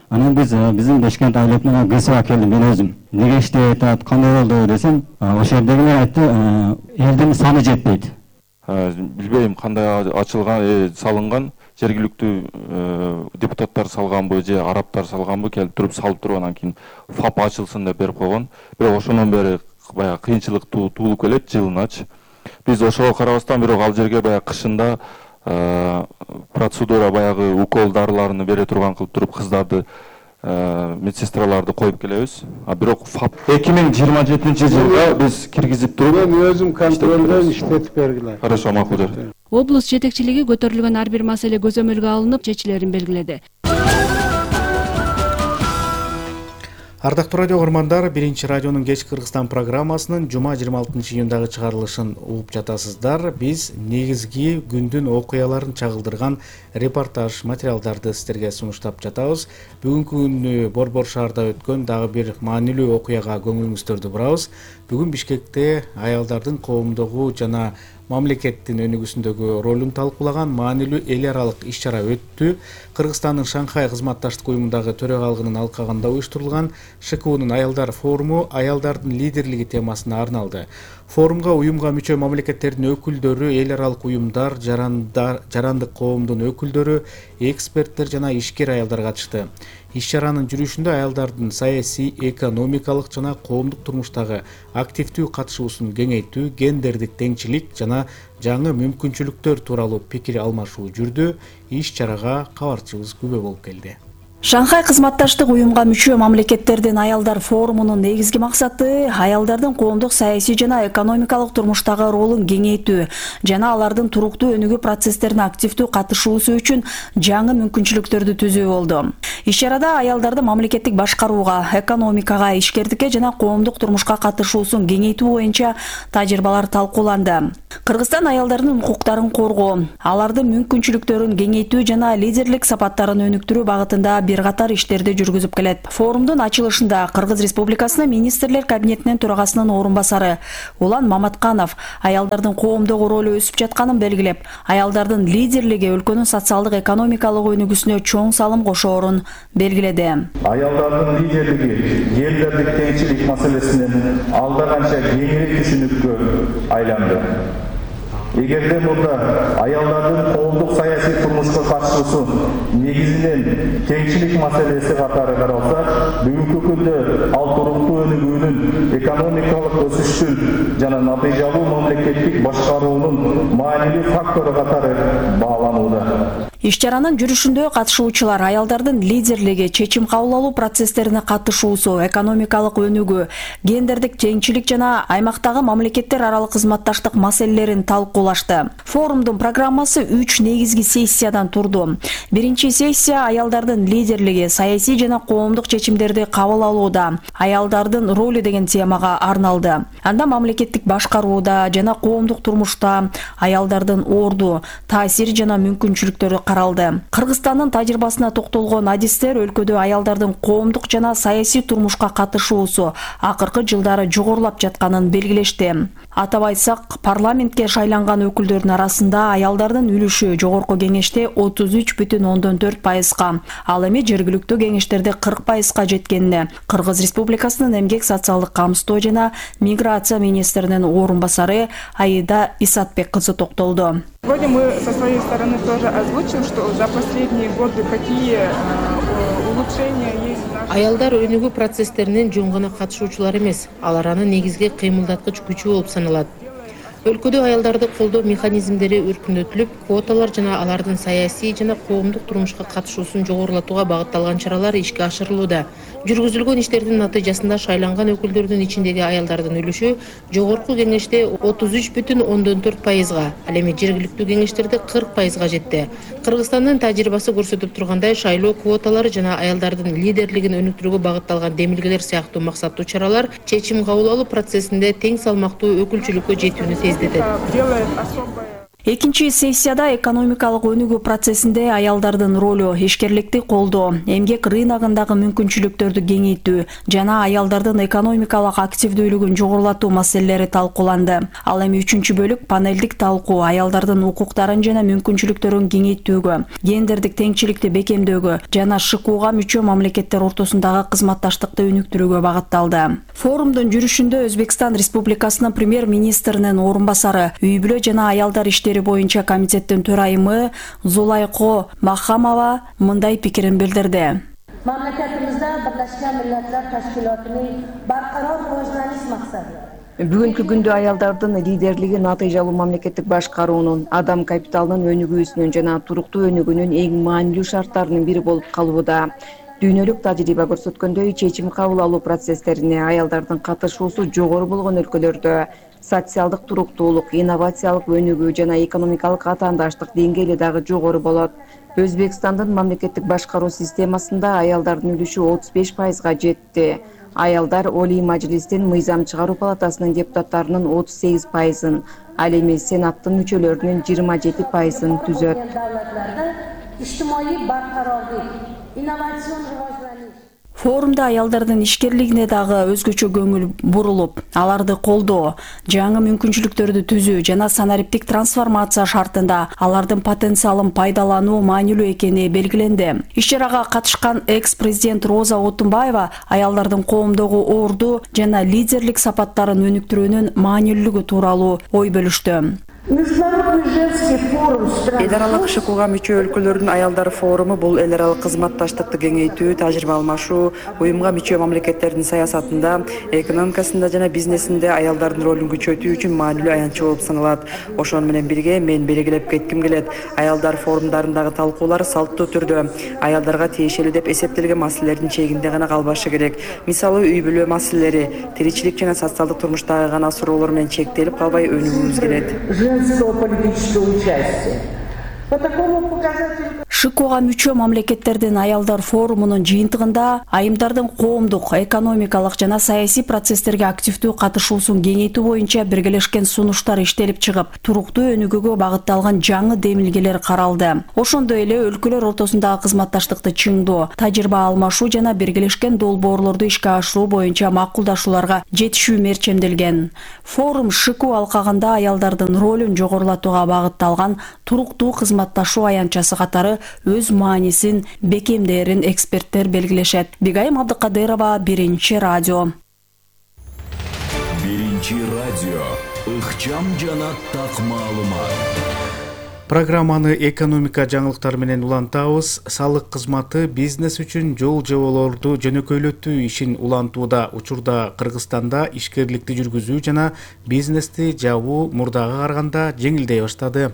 Anam bizim Beşkent ailetine kısıva keldim ben özüm. Nege işteye etat, kanday oldu desem, o şehirdekiler aytты, elden sanı jetpeydi. Bilbeyim kanday açılgan, salıngan, жергиликтүү депутаттар салган бу же арабтар салган бу келип туруп салып тургандан кийин ФАП ачылсын деп берип койгон. Бирок ошондон бери баягы кыйынчылык туулуп келет жылыначы. Биз ошого карабастан бирок ал жерге баягы кышында процедура баягы укол дарыларын бере турган кылып туруп кыздарды медсестраларды коюп келебиз. Бирок ФАП 2027-жылда биз киргизип туруп мен өзүм контролдон иштетип бергиле. Хорошо, макул. Облус жетекчилиги көтөрүлгөн ар бир маселе көзөмөлгө алынып, чечилерин белгиледи. Ардактуу радио көрмандар, биринчи радионун кечки Кыргызстан программасынын жума 26 июндагы чыгарылышын угуп жатасыздар. Биз негизги күндүн окуяларын чагылдырган репортаж материалдарды сиздерге сунуштап жатабыз. Бүгүнкү күнү Борбор шаарда өткөн дагы бир маанилүү окуяга көңүлүңүздөрдү бурабыз. Бүгүн Бишкекте аялдардын коомдогу жана мамлекеттин өнүгүүсүндөгү ролун талкуулаган маанилүү эл аралык иш-чара өттү. Кыргызстандын Шанхай кызматташтык уюмундагы төрөгалыгынын алкагында уюштурулган ШКУнун аялдар форуму аялдардын лидерлиги темасына арналды. Форумга уюмга мүчө мамлекеттердин өкүлдөрү, эл аралык уюмдар, жарандык коомдун өкүлдөрү, эксперттер жана ишкер аялдар катышты. Иш-чаранын жүрүшүндө аялдардын саясий, экономикалык жана коомдук турмуштагы активдүү катышуусун кеңейтүү, гендердик теңчилик жана жаңы мүмкүнчүлүктөр тууралуу пикир алмашуу жүрдү. Иш-чарага кабарчыбыз күбө болуп келди. Шанхай кызматташтык уюмга мүчө мамлекеттердин аялдар форумунун негизги максаты аялдардын коомдук саясий жана экономикалык турмуштагы ролун кеңейтүү жана алардын туруктуу өнүгүү процесстерине активдүү катышуусу үчүн жаңы мүмкүнчүлүктөрдү түзүү болду. Иш-чарада аялдардын мамлекеттик башкарууга, экономикага, ишкердикке жана коомдук турмушка катышуусун кеңейтүү боюнча тажрыйбалар талкууланды. Кыргызстан аялдардын укуктарын коргоо, алардын мүмкүнчүлүктөрүн кеңейтүү жана лидерлик сапаттарын өнүктүрүү багытында бир катар иштерди жүргүзүп келет. Форумдун ачылышында Кыргыз Республикасынын министрлер кабинетинин төрагасынын орун басары Улан Маматканов аялдардын коомдогу ролу өсүп жатканын белгилеп, аялдардын лидерлиги өлкөнүн социалдык экономикалык өнүгүүсүнө чоң салым кошоорун белгиледи. Аялдардын лидерлиги элдердик теңчилик маселесинен алда канча кеңири түшүнүккө айланды. Эгерде мурда аялдардын коомдук саясий турмушка катышуусу негизинен теңчилик маселеси катары каралса, бүгүнкү күндө ал туруктуу өнүгүүнүн, экономикалык өсүштүн жана натыйжалуу мамлекеттик башкаруунун маанилүү фактору катары бааланууда. Иш-чаранын жүрүшүндө катышуучулар аялдардын лидерлиги, чечим кабыл алуу процесстерине катышуусу, экономикалык өнүгүү, гендердик теңчилик жана аймактагы мамлекеттер аралык кызматташтык маселелерин талкуулашты. Форумдун программасы 3 негизги сессиядан турду. Биринчи сессия аялдардын лидерлиги, саясий жана коомдук чечимдерди кабыл алууда, аялдардын ролу деген темага арналды. Анда мамлекеттик башкарууда жана коомдук турмушта аялдардын орду, таасири жана мүмкүнчүлүктөрү каралды. Кыргызстандын тажрыйбасына токтолгон адистер өлкөдө аялдардын коомдук жана саясий турмушка катышуусу акыркы жылдары жогорулап жатканын белгилешти. Атап айтсак, парламентке шайланган өкүлдөрдүн арасында аялдардын үлүшү жогорку кеңеште 33,4%, ал эми жергиликтүү кеңештерде 40%га жеткенине Кыргыз Республикасынын эмгек социалдык камсыздоо жана миграция министринин орун басары Аида Исатбек кызы токтолду. Сегодня мы со своей стороны тоже озвучим, что за последние годы какие улучшения есть в нашей... Аялдар өнүгүү процесстеринин жөн гана катышуучулар эмес, алар анын негизги кыймылдаткыч күчү болуп саналат. Өлкөдө аялдарды колдоо механизмдери өркүндөтүлүп, квоталар жана алардын саясий жана коомдук турмушка катышуусун жогорулатууга багытталган чаралар ишке ашырылууда. Жүргүзүлгөн иштердин натыйжасында шайланган өкүлдөрдүн ичиндеги аялдардын үлүшү жогорку кеңеште 33,4%, ал эми жергиликтүү кеңештерде 40%га жетти. Кыргызстандын тажрыйбасы көрсөтүп тургандай, шайлоо квоталары жана аялдардын лидерлигин өнүктүрүүгө багытталган демилгелер сыяктуу максаттуу чаралар чечим кабыл алуу процессинде тең салмактуу өкүлчүлүккө жетүүнү тездетет. Экинчи сессияда экономикалык өнүгүү процессинде аялдардын ролу, ишкерликти колдоо, эмгек рыногундагы мүмкүнчүлүктөрдү кеңейтүү жана аялдардын экономикалык активдүүлүгүн жогорулатуу маселелери талкууланды. Ал эми үчүнчү бөлүк панелдик талкуу аялдардын укуктарын жана мүмкүнчүлүктөрүн кеңейтүүгө, гендердик теңчиликти бекемдөөгө жана ШКУга мүчө мамлекеттер ортосундагы кызматташтыкты өнүктүрүүгө багытталды. Форумдун жүрүшүндө Өзбекстан Республикасынын премьер-министринин орун басары, үй-бүлө жана аялдар боюнча комитеттин төрайымы Зулайко Махамова мындай пикирин билдирди. Мамлекетимизде Birleşmiş Milletler Teşkilatı'nın barqaror rivojlanish maqsadi. Бүгүнкү күндө аялдардын лидерлиги натыйжалуу мамлекеттик башкаруунун, адам капиталынын өнүгүүсүнүн жана туруктуу өнүгүүнүн эң маанилүү шарттарынын бири болуп калууда. Дүйнөлүк тажрыйба көрсөткөндөй, чечим кабыл алуу процесстерине аялдардын катышуусу жогору болгон өлкөлөрдө социалдык туруктуулук, инновациялык өнүгүү жана экономикалык атаандаштык деңгээли дагы жогору болот. Өзбекстандын мамлекеттик башкаруу системасында аялдардын үлүшү 35%га жетти. Аялдар Олий Мажлистин мыйзам чыгаруу палатасынын депутаттарынын 38%, ал эми Сенаттын мүчөлөрүнүн 27%-ын түзөт. İçtimai barqarorlik, innovatsion rivojlanish. Форумда аялдардын ишкерлигине дагы өзгөчө көңүл бурулуп, аларды колдоо, жаңы мүмкүнчүлүктөрдү түзүү жана санариптик трансформация шартында алардын потенциалын пайдалануу маанилүү экени белгиленди. Иш-чарага катышкан экс-президент Роза Отунбаева аялдардын коомдогу орду жана лидерлик сапаттарын өнүктүрүүнүн маанилүүлүгү тууралуу ой бөлүштү. Эл аралык ШКУга мүчө өлкөлөрдүн аялдар форуму бул эл аралык кызматташтыкты кеңейтүү, тажрыйба алмашуу, уюмга мүчө мамлекеттердин саясатында, экономикасында жана бизнесинде аялдардын ролун күчөтүү үчүн маанилүү аянтчы болуп саналат. Ошону менен бирге мен белгилеп кетким келет. Аялдар форумдарындагы талкуулар салттуу түрдө аялдарга тиешелүү деп эсептелген маселелердин чегинде гана калбашы керек. Мисалы, үй бүлө маселелери, тиричилик жана социалдык турмуштагы гана суроолор менен чектелип калбай өнүгүүбүз келет. ШКУга мүчө мамлекеттердин аялдар форумунун жыйынтыгында айымдардын коомдук, экономикалык жана саясий процесстерге активдүү катышуусун кеңейтүү боюнча биргелешкен сунуштар иштелип чыгып, туруктуу өнүгүүгө багытталган жаңы демилгелер каралды. Ошондой эле өлкөлөр ортосундагы кызматташтыкты чыңдоо, тажрыйба алмашуу жана биргелешкен долбоорлорду ишке ашыруу боюнча макулдашууларга жетишүү мерчемделген. Форум ШКУ алкагында аялдардын ролун жогорулатууга багытталган туруктуу кызматташуу аянтчасы катары өз маанисин бекемдээрин эксперттер белгилешет. Бигайым Абдыкадырова, Биринчи радио. Биринчи радио. Ыкчам жана так маалымат. Программаны экономика жаңылыктары менен улантабыз. Салык кызматы бизнес үчүн жол жоболорду жөнөкөйлөтүү ишин улантууда. Учурда Кыргызстанда ишкерликти жүргүзүү жана бизнести жабуу мурдага караганда жеңилдей баштады.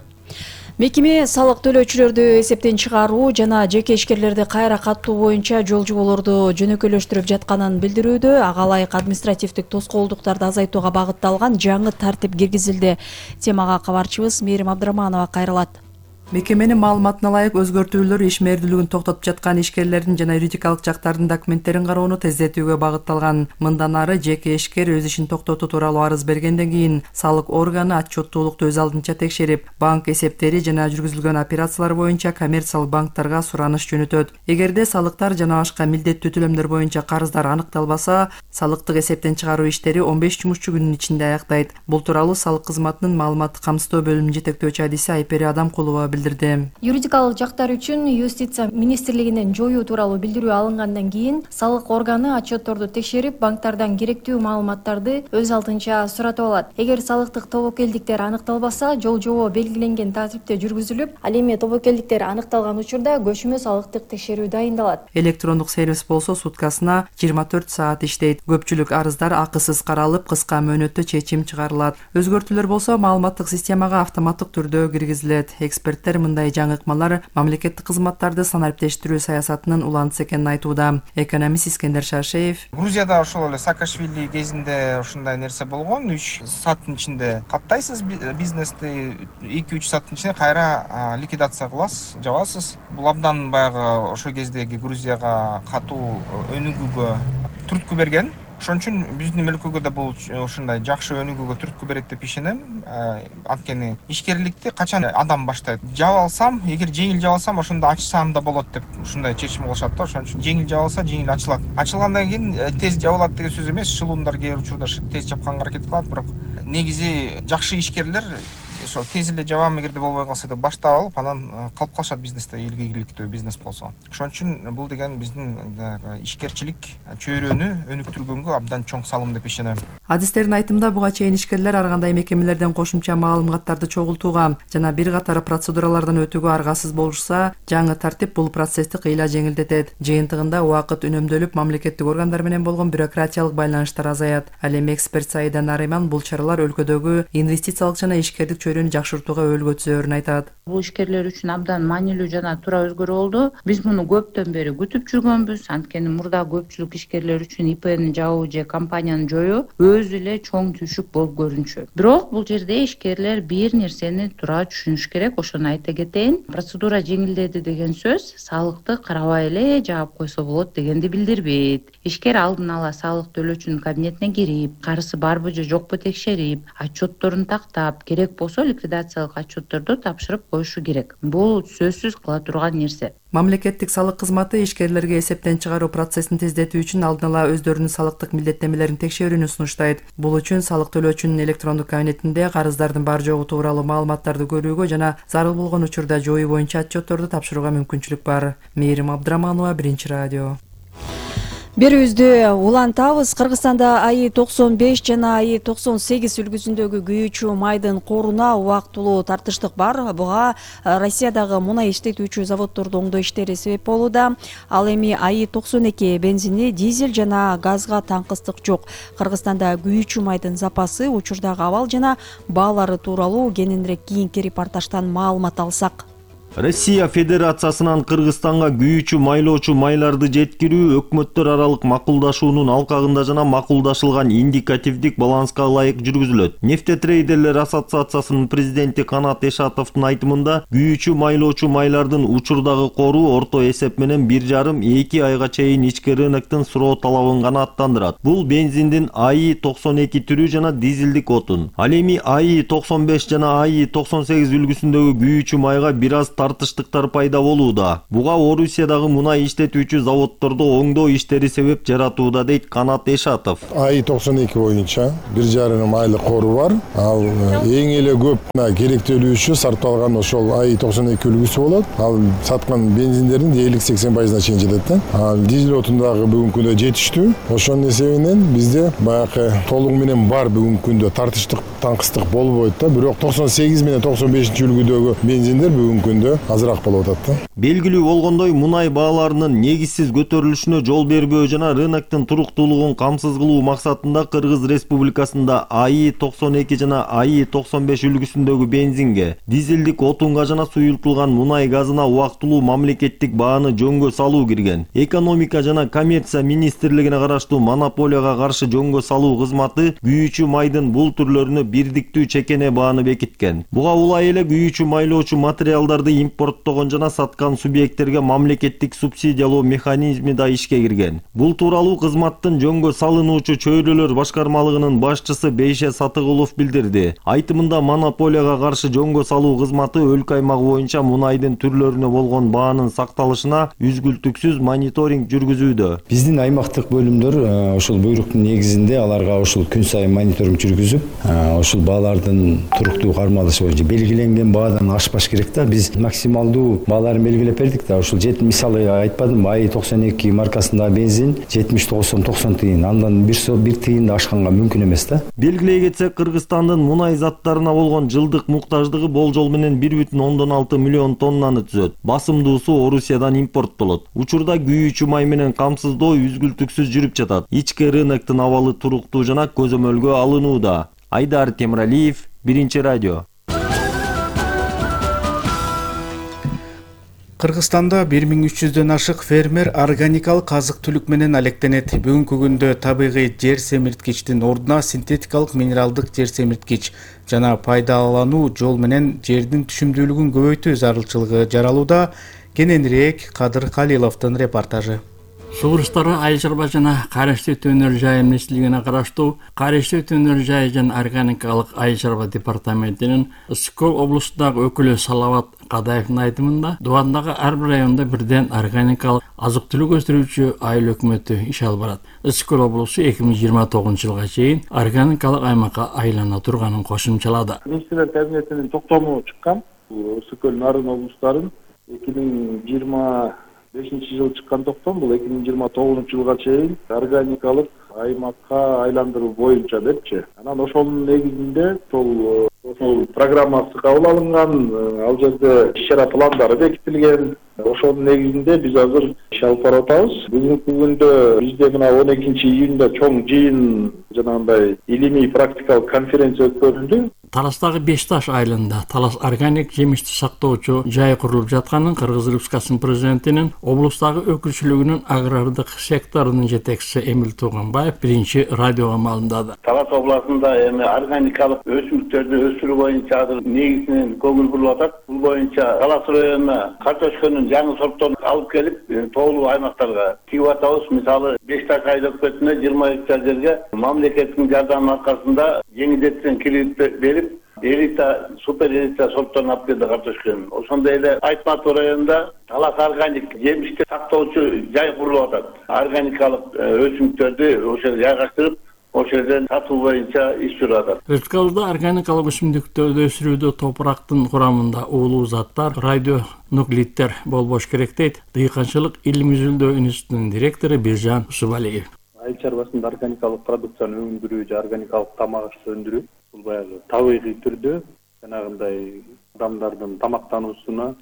Мекеме салык төлөөчүлөрдү эсептен чыгаруу жана жеке ишкерлерди кайра каттоо боюнча жол жоболорду жөнөкөйлөштүрүп жатканын билдирүүдө. Ага ылайык административдик тоскоолдуктарды азайтууга багытталган жаңы тартип киргизилди. Темага кабарчыбыз Мээрим Абдыраманова кайрылат. Мекеменин маалыматына ылайык өзгөртүүлөр ишмердүүлүгүн токтотуп жаткан ишкерлердин жана юридикалык жактардын документтерин кароону тездетүүгө багытталган. Мындан ары жеке ишкер өз ишин токтотуу тууралуу арыз бергенден кийин салык органы отчеттуулукту өз алдынча текшерип, банк эсептери жана жүргүзүлгөн операциялар боюнча коммерциялык банктарга сураныш жөнөтөт. Эгерде салыктар жана башка милдеттүү төлөмдөр боюнча карыздар аныкталбаса, салыктык эсептен чыгаруу иштери 15 жумушчу күнүн ичинде аяктайт. Бул тууралуу салык кызматынын маалыматтык камсыздоо бөлүмүнүн жетектөөчү адиси Айпери Адамкулова билдирди. Юридикалык жактар үчүн Юстиция министрлигинен жоюу тууралуу билдирүү алынгандан кийин салык органы отчетторду текшерип, банктардан керектүү маалыматтарды өз алдынча суратып алат. Эгер салыктык тобокелдиктер аныкталбаса, жол жобо белгиленген тартипте жүргүзүлүп, ал эми тобокелдиктер аныкталган учурда көчмө салыктык текшерүү дайындалат. Электрондук сервис болсо суткасына 24 саат иштейт. Көпчүлүк арыздар акысыз каралып, кыска мөөнөттө чечим чыгарылат. Өзгөртүүлөр болсо маалыматтык системага автоматтык түрдө киргизилет. Эксперттер мындай жаңыкмалар мамлекеттик кызматтарды санариптештирүү саясатынын улантысы экенин айтууда. Экономист Искендер Шашеев: Грузияда ошол эле Саакашвили кезинде ушундай нерсе болгон. 3 сааттын ичинде каттайсыз бизнести, 2-3 сааттын ичинде кайра ликвидация кыласыз, жабасыз. Бул абдан баягы ошол кездеги Грузияга катуу өнүгүүгө түрткү берген. Ошон үчүн биздин өлкөгө да бул ушундай жакшы өнүгүүгө түрткү берет деп ишенем. Анткени ишкерликти качан адам баштайт? Жаба алсам, эгер жеңил жаба алсам, ошондо ачсам да болот деп ушундай чечим кылышат да. Ошон үчүн жеңил жаба алса, жеңил ачылат. Ачылгандан кийин тез жабылат деген сөз эмес. Шылуундар кээ бир учурда тез жапканга аракет кылат, бирок негизи жакшы ишкерлер ошо тез эле жабам эгерде болбой калса деп баштап алып, анан калып калышат бизнесте, элге ийгиликтүү бизнес болсо. Ошон үчүн бул деген биздин ишкерчилик чөйрөнү өнүктүргөнгө абдан чоң салым деп ишенем. Адистердин айтымында буга чейин ишкерлер ар кандай мекемелерден кошумча маалыматтарды чогултууга жана бир катар процедуралардан өтүүгө аргасыз болушса, жаңы тартип бул процессти кыйла жеңилдетет. Жыйынтыгында убакыт үнөмдөлүп, мамлекеттик органдар менен болгон бюрократиялык байланыштар азаят. Ал эми эксперт Саида Нариман бул чаралар өлкөдөгү инвестициялык жана ишкердик чөйрөнү жакшыртууга өөлгө түзөөрүн айтат. Бул ишкерлер үчүн абдан маанилүү жана туура өзгөрүү болду. Биз муну көптөн бери күтүп жүргөнбүз. Анткени мурда көпчүлүк ишкерлер үчүн ИПни жабуу же компанияны жоюу өзү эле чоң түшүк болуп көрүнчү. Бирок бул жерде ишкерлер бир нерсени туура түшүнүш керек. Ошону айта кетейин. Процедура жеңилдеди деген сөз салыкты карабай эле жаап койсо болот дегенди билдирбейт. Ишкер алдын ала салык төлөөчүнүн кабинетине кирип, карызы барбы же жокпу текшерип, отчетторун тактап, керек болсо ликвидациялык отчетторду тапшырып коюшу керек. Бул сөзсүз кыла турган нерсе. Мамлекеттик салык кызматы ишкерлерге эсептен чыгаруу процессин тездетүү үчүн алдын ала өздөрүнүн салыктык милдеттенмелерин текшерүүнү сунуштайт. Бул үчүн салык төлөөчүнүн электрондук кабинетинде карыздардын бар жогу тууралуу маалыматтарды көрүүгө жана зарыл болгон учурда жоюу боюнча отчетторду тапшырууга мүмкүнчүлүк бар. Мээрим Абдыраманова, Биринчи радио. Берүүбүздү улантабыз. Кыргызстанда АИ-95 жана АИ-98 үлгүсүндөгү күйүүчү майдын коруна убактылуу тартыштык бар. Буга Россиядагы мунай иштетүүчү заводдордун оңдоо иштери себеп болууда. Ал эми АИ-92 бензини, дизель жана газга таңкыстык жок. Кыргызстанда күйүүчү майдын запасы, учурдагы абал жана баалары тууралуу кененирээк кийинки репортаждан маалымат алсак. Россия Федерациясынан Кыргызстанга күйүүчү майлоочу майларды жеткирүү өкмөттөр аралык макулдашуунун алкагында жана макулдашылган индикативдик баланска ылайык жүргүзүлөт. Нефтетрейдерлер ассоциациясынын президенти Канат Эшатовдун айтымында, күйүүчү майлоочу майлардын учурдагы кору орто эсеп менен 1,5-2 айга чейин ички рыноктун суроо талабын канааттандырат. Бул бензиндин АИ-92 түрү жана дизелдик отун. Ал эми АИ-95 жана АИ-98 үлгүсүндөгү күйүүчү майга бир аз тартыштыктар пайда болууда. Буга Орусиядагы мунай иштетүүчү заводдордо оңдоо иштери себеп жаратууда, дейт Канат Эшатов. АИ-92 боюнча 1,5 айлык кору бар. Ал эң эле көп керектелүүчү сарпталган ошол АИ-92 үлгүсү болот. Ал саткан бензиндердин дээрлик 80% чейин жетет. Ал дизель отундагы бүгүнкү күндө жетиштүү. Ошонун эсебинен бизде баягы толугу менен бар бүгүнкү күндө тартыштык, таңкыстык болбойт да. Бирок 98 менен 95 үлгүдөгү бензиндер бүгүнкү күндө азыраак болуп атат да. Белгилүү болгондой, мунай бааларынын негизсиз көтөрүлүшүнө жол бербөө жана рыноктун туруктуулугун камсыз кылуу максатында Кыргыз Республикасында АИ-92 жана АИ-95 үлгүсүндөгү бензинге, дизелдик отунга жана суюлтулган мунай газына убактылуу мамлекеттик бааны жөнгө салуу кирген. Экономика жана коммерция министрлигине караштуу монополияга каршы жөнгө салуу кызматы күйүүчү майдын бул түрлөрүнө бирдиктүү чекене бааны бекиткен. Буга улай эле күйүүчү майлоочу материалдарды импорттогон жана саткан субъекттерге мамлекеттик субсидиялоо механизми да ишке кирген. Бул тууралуу кызматтын жөнгө салынуучу чөйрөлөр башкармалыгынын башчысы Бейше Сатыгулов билдирди. Айтымында монополияга каршы жөнгө салуу кызматы өлкө аймагы боюнча мунайдын түрлөрүнө болгон баанын сакталышына үзгүлтүксүз мониторинг жүргүзүүдө. Биздин аймактык бөлүмдөр ошол буйруктун негизинде аларга ошол күн сайын мониторинг жүргүзүп, ошол баалардын туруктуу кармалышы боюнча белгиленген баадан ашпаш керек да. Биз максималдуу бааларын белгилеп бердик да. Ошол мисалы айтпадым, АИ-92 маркасындагы бензин 70-90 тыйын, андан бир тыйын да ашканга мүмкүн эмес да. Белгилей кетсек, Кыргызстандын мунай заттарына болгон жылдык муктаждыгы болжол менен 1,6 миллион тоннаны түзөт. Басымдуусу Орусиядан импорттолот. Учурда күйүүчү май менен камсыздоо үзгүлтүксүз жүрүп жатат. Ички рыноктун абалы туруктуу жана көзөмөлгө алынууда. Айдар Темиралиев, Биринчи радио. Кыргызстанда 1300дөн ашык фермер органикалык азык-түлүк менен алектенет. Бүгүнкү күндө табигый жер семирткичтин ордуна синтетикалык минералдык жер семирткич жана пайдалануу жол менен жердин түшүмдүүлүгүн көбөйтүү зарылчылыгы жаралууда. Кененирээк Кадыр Калиловдун репортажы. Сug'urishtari Айыл чарба жана Карешти Төнөр жайы министрлигине караштуу Карешти Төнөр жайы жана органикалык айыл чарба департаментинин Ысыккөл облусундагы өкүлү Салават Кадаевдин айтымында, Дубандагы ар бир районда бирден органикалык азык-түлүк өстүрүүчү айыл өкмөтү иш алып барат. Ысыккөл облусу 2029-жылга чейин органикалык аймакка айлана турганын кошумчалады. Министрлер кабинетинин токтому чыккан. Ысыккөл Нарын облустарын 2025-жылы чыккан токтом, бул 2029-жылга чейин органикалык аймакка айландыруу боюнча депчи. Анан ошонун негизинде ошол программасы кабыл алынган, ал жерде иш-чара пландары бекитилген. Ошонун негизинде биз азыр иш алып барып атабыз. Бүгүнкү күндө бизде мына 12-июнда чоң жыйын жанагындай илимий практикалык конференция өткөрүлдү. Таластагы Бешташ айылында Талас органик жемишти сактоочу жай курулуп жатканын Кыргыз Республикасынын президентинин облустагы өкүлчүлүгүнүн агрардык секторунун жетекчиси Эмил Туганбаев Биринчи радиого маалымдады. Талас областында эми органикалык өсүмдүктөрдү өсүрүү боюнча азыр негизинен көңүл буруп атат. Бул боюнча Талас районуна картошканын жаңы сортторун алып келип, тоолуу аймактарга тигип атабыз. Мисалы Бешташ айыл өкмөтүнө 20 гектар жерге мамлекеттин жардамы аркасында жеңилдетилген кредит берип, элита, супер элита сортторун алып келди картошканын. Ошондой эле Айтмат районунда Талас органик жемишти сактоочу жай курулуп атат. Органикалык өсүмдүктөрдү ошол жайгаштырып, ошол жерден сатуу боюнча иш жүрүп атат. Өткөлдө органикалык өсүмдүктөрдү өсүрүүдө топурактын курамында уулуу заттар, радионуклиддер болбош керек дейт Дыйканчылык илим изилдөө институтунун директору Биржан Усубалиев. Айыл чарбасында органикалык продукцияны өндүрүү же органикалык тамак аш өндүрүү бул баягы табигый түрдө жанагындай адамдардын тамактануусуна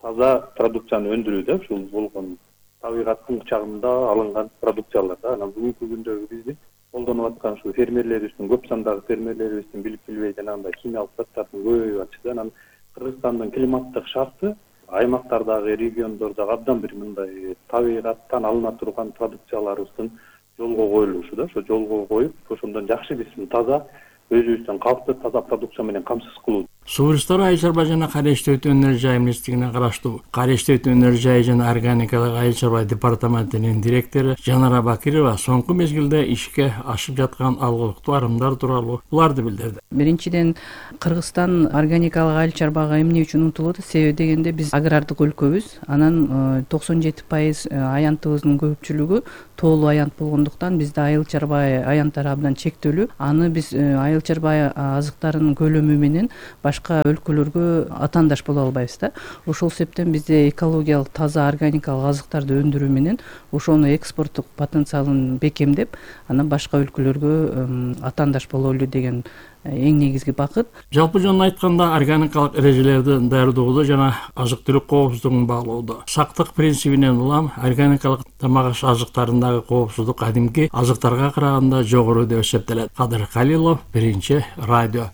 таза продукцияны өндүрүү да, ушул болгон табигаттын кучагында алынган продукциялар да. Анан бүгүнкү күндөгү биздин колдонуп аткан ушул фермерлерибиздин, көп сандагы фермерлерибиздин билип билбей жанагындай химиялык заттардын көбөйүп атышы. Анан Кыргызстандын климаттык шарты аймактардагы, региондордогу абдан бир мындай табигаттан алына турган продукцияларыбыздын жолго коюлушу да. Ошо жолго коюп, ошондон жакшы биз таза өзүбүздүн калкты таза продукция менен камсыз кылуу. Суу ресурстары айыл чарба жана Карештөө өнөр жай министрлигине караштуу Карештөө өнөр жай жана органикалык айыл чарба департаментинин директору Жанара Бакирова соңку мезгилде ишке ашып жаткан алгылыктуу арымдар тууралуу буларды билдирди. Биринчиден, Кыргызстан органикалык айыл чарбага эмне үчүн умтулат? Себеби дегенде биз агрардык өлкөбүз. Анан 97% аянтыбыздын көпчүлүгү тоолуу аянт болгондуктан бизде айыл чарба аянттары абдан чектелүү. Аны биз айыл чарба азыктарынын көлөмү менен башка өлкөлөргө атаандаш боло албайбыз да. Ошол себептен бизде экологиялык таза органикалык азыктарды өндүрүү менен ошону экспорттук потенциалын бекемдеп, анан башка өлкөлөргө атаандаш бололу деген эң негизги бакыт. Жалпы жөн айтканда органикалык эрежелерди даярдоодо жана азык-түлүк коопсуздугун баалоодо сактык принцибинен улам органикалык тамак аш азыктарындагы коопсуздук кадимки азыктарга караганда жогору деп эсептелет. Кадыр Калилов, Биринчи радио.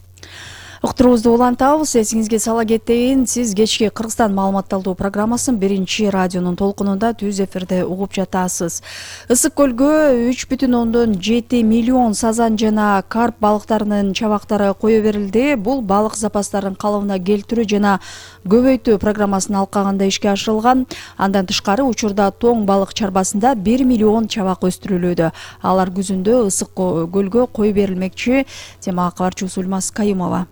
Уктуруубузду улантабыз. Эсиңизге сала кетейин, сиз кечки Кыргызстан маалыматталдоо программасын Биринчи радионун толкунунда түз эфирде угуп жатасыз. Ысык көлгө 3,7 миллион сазан жана карп балыктарынын чабактары кое берилди. Бул балык запастарын калыбына келтирүү жана көбөйтүү программасынын алкагында ишке ашырылган. Андан тышкары учурда тоң балык чарбасында 1 миллион чабак өстүрүлүүдө. Алар күзүндө ысык көлгө кое берилмекчи. Темага кабарчыбыз Ульмас Кайымова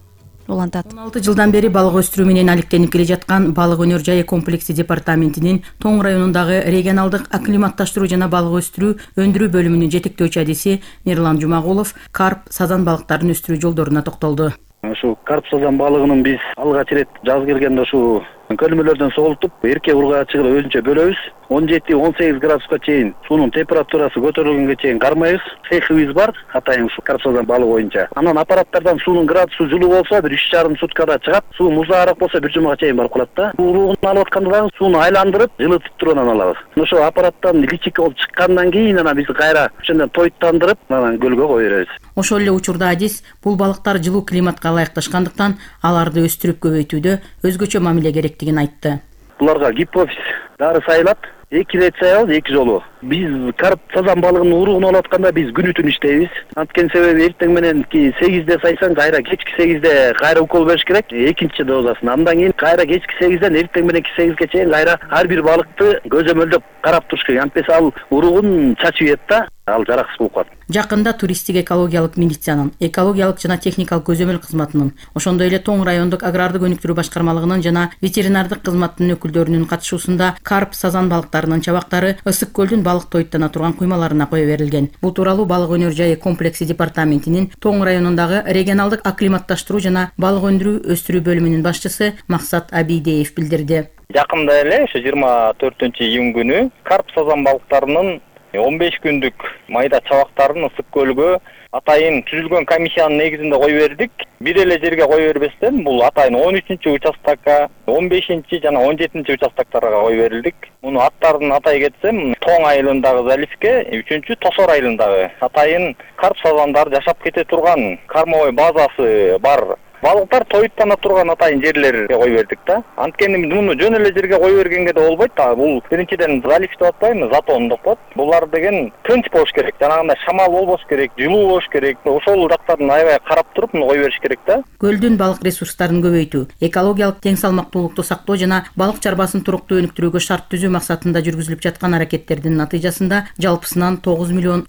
улантат. 16 жылдан бери балык өстүрүү менен алектенип келе жаткан балык өнөр жайы комплекси департаментинин Тоң районундагы регионалдык акклиматташтыруу жана балык өстүрүү өндүрүү бөлүмүнүн жетектөөчү адиси Мирлан Жумагулов карп, сазан балыктарын өстүрүү жолдоруна токтолду. Ушу карп сазан балыгынын биз алгач ирет жаз келгенде ушу көлмөлөрдөн сугултуп, эрке ургаачыгы өзүнчө бөлөбүз. 17-18 градуска чейин суунун температурасы көтөрүлгөнгө чейин кармайбыз. Цехибиз бар, атайын ушу карп сазан балыгы боюнча. Анан аппараттардан суунун градусу жылуу болсо, бир 3,5 суткада чыгат. Суу музаараак болсо, бир жумага чейин барып калат да. Уругун алып атканда дагы сууну айландырып, жылытып туруп анан алабыз. Ошо аппараттан личик болуп чыккандан кийин анан биз кайра ошондон тоyттандырып, анан көлгө кое беребиз. Ошол эле учурда адис бул балыктар жылуу климатка ылайыкташкандыктан аларды өстүрүп көбөйтүүдө өзгөчө мамиле керектигин айтты. Буларга гипофиз дары сайылат. 2 рет сайабыз, 2 жолу. Биз карп сазан балыгынын уругун алып атканда биз күнү түн иштейбиз. Анткени себеби эртең менен 8-де сайсаң, кайра кечки 8-де кайра укол бериш керек, экинчи дозасын. Андан кийин кайра кечки 8-ден эртең мененки 8-ге чейин кайра ар бир балыкты көзөмөлдөп карап туруш керек. Антпесе ал уругун чачып ийет да, ал жараксыз болуп калат. Жакында туристтик экологиялык милициянын, экологиялык жана техникалык көзөмөл кызматынын, ошондой эле Тоң райондук агрардык өнүктүрүү башкармалыгынын жана ветеринардык кызматтын өкүлдөрүнүн катышуусунда карп, сазан балыктарынын чабактары ысык көлдүн балык тоyттана турган куймаларына кое берилген. Бул тууралуу балык өнөр жайы комплекси департаментинин Тоң районундагы регионалдык акклиматташтыруу жана балык өндүрүү өстүрүү бөлүмүнүн башчысы Максат Абийдеев билдирди. Жакында эле ошо 24-июнь күнү карп, сазан балыктарынын 15 күндүк майда чабактарын ысык көлгө атайын түзүлгөн комиссиянын негизинде кое бердик. Бир эле жерге кое бербестен бул атайын 13-участокко, 15 жана 17 участокторго кое берилдик. Муну аттарын атай кетсем, Тоң айылындагы заливке, 3-чү Тосор айылындагы атайын карп сазандар жашап кете турган кормовой базасы бар. Балыктар тоyттана турган атайын жерлерге кое бердик да. Анткени муну жөн эле жерге кое бергенге да болбойт. Бул биринчиден залив деп атпайбы, затон деп коет. Булар деген тынч болуш керек. Жанагындай шамал болбош керек, жылуу болуш керек. Ошол жактарын аябай карап туруп, муну кое бериш керек да. Көлдүн балык ресурстарын көбөйтүү, экологиялык тең салмактуулукту сактоо жана балык чарбасын туруктуу өнүктүрүүгө шарт түзүү максатында жүргүзүлүп жаткан аракеттердин натыйжасында жалпысынан 9,3 миллион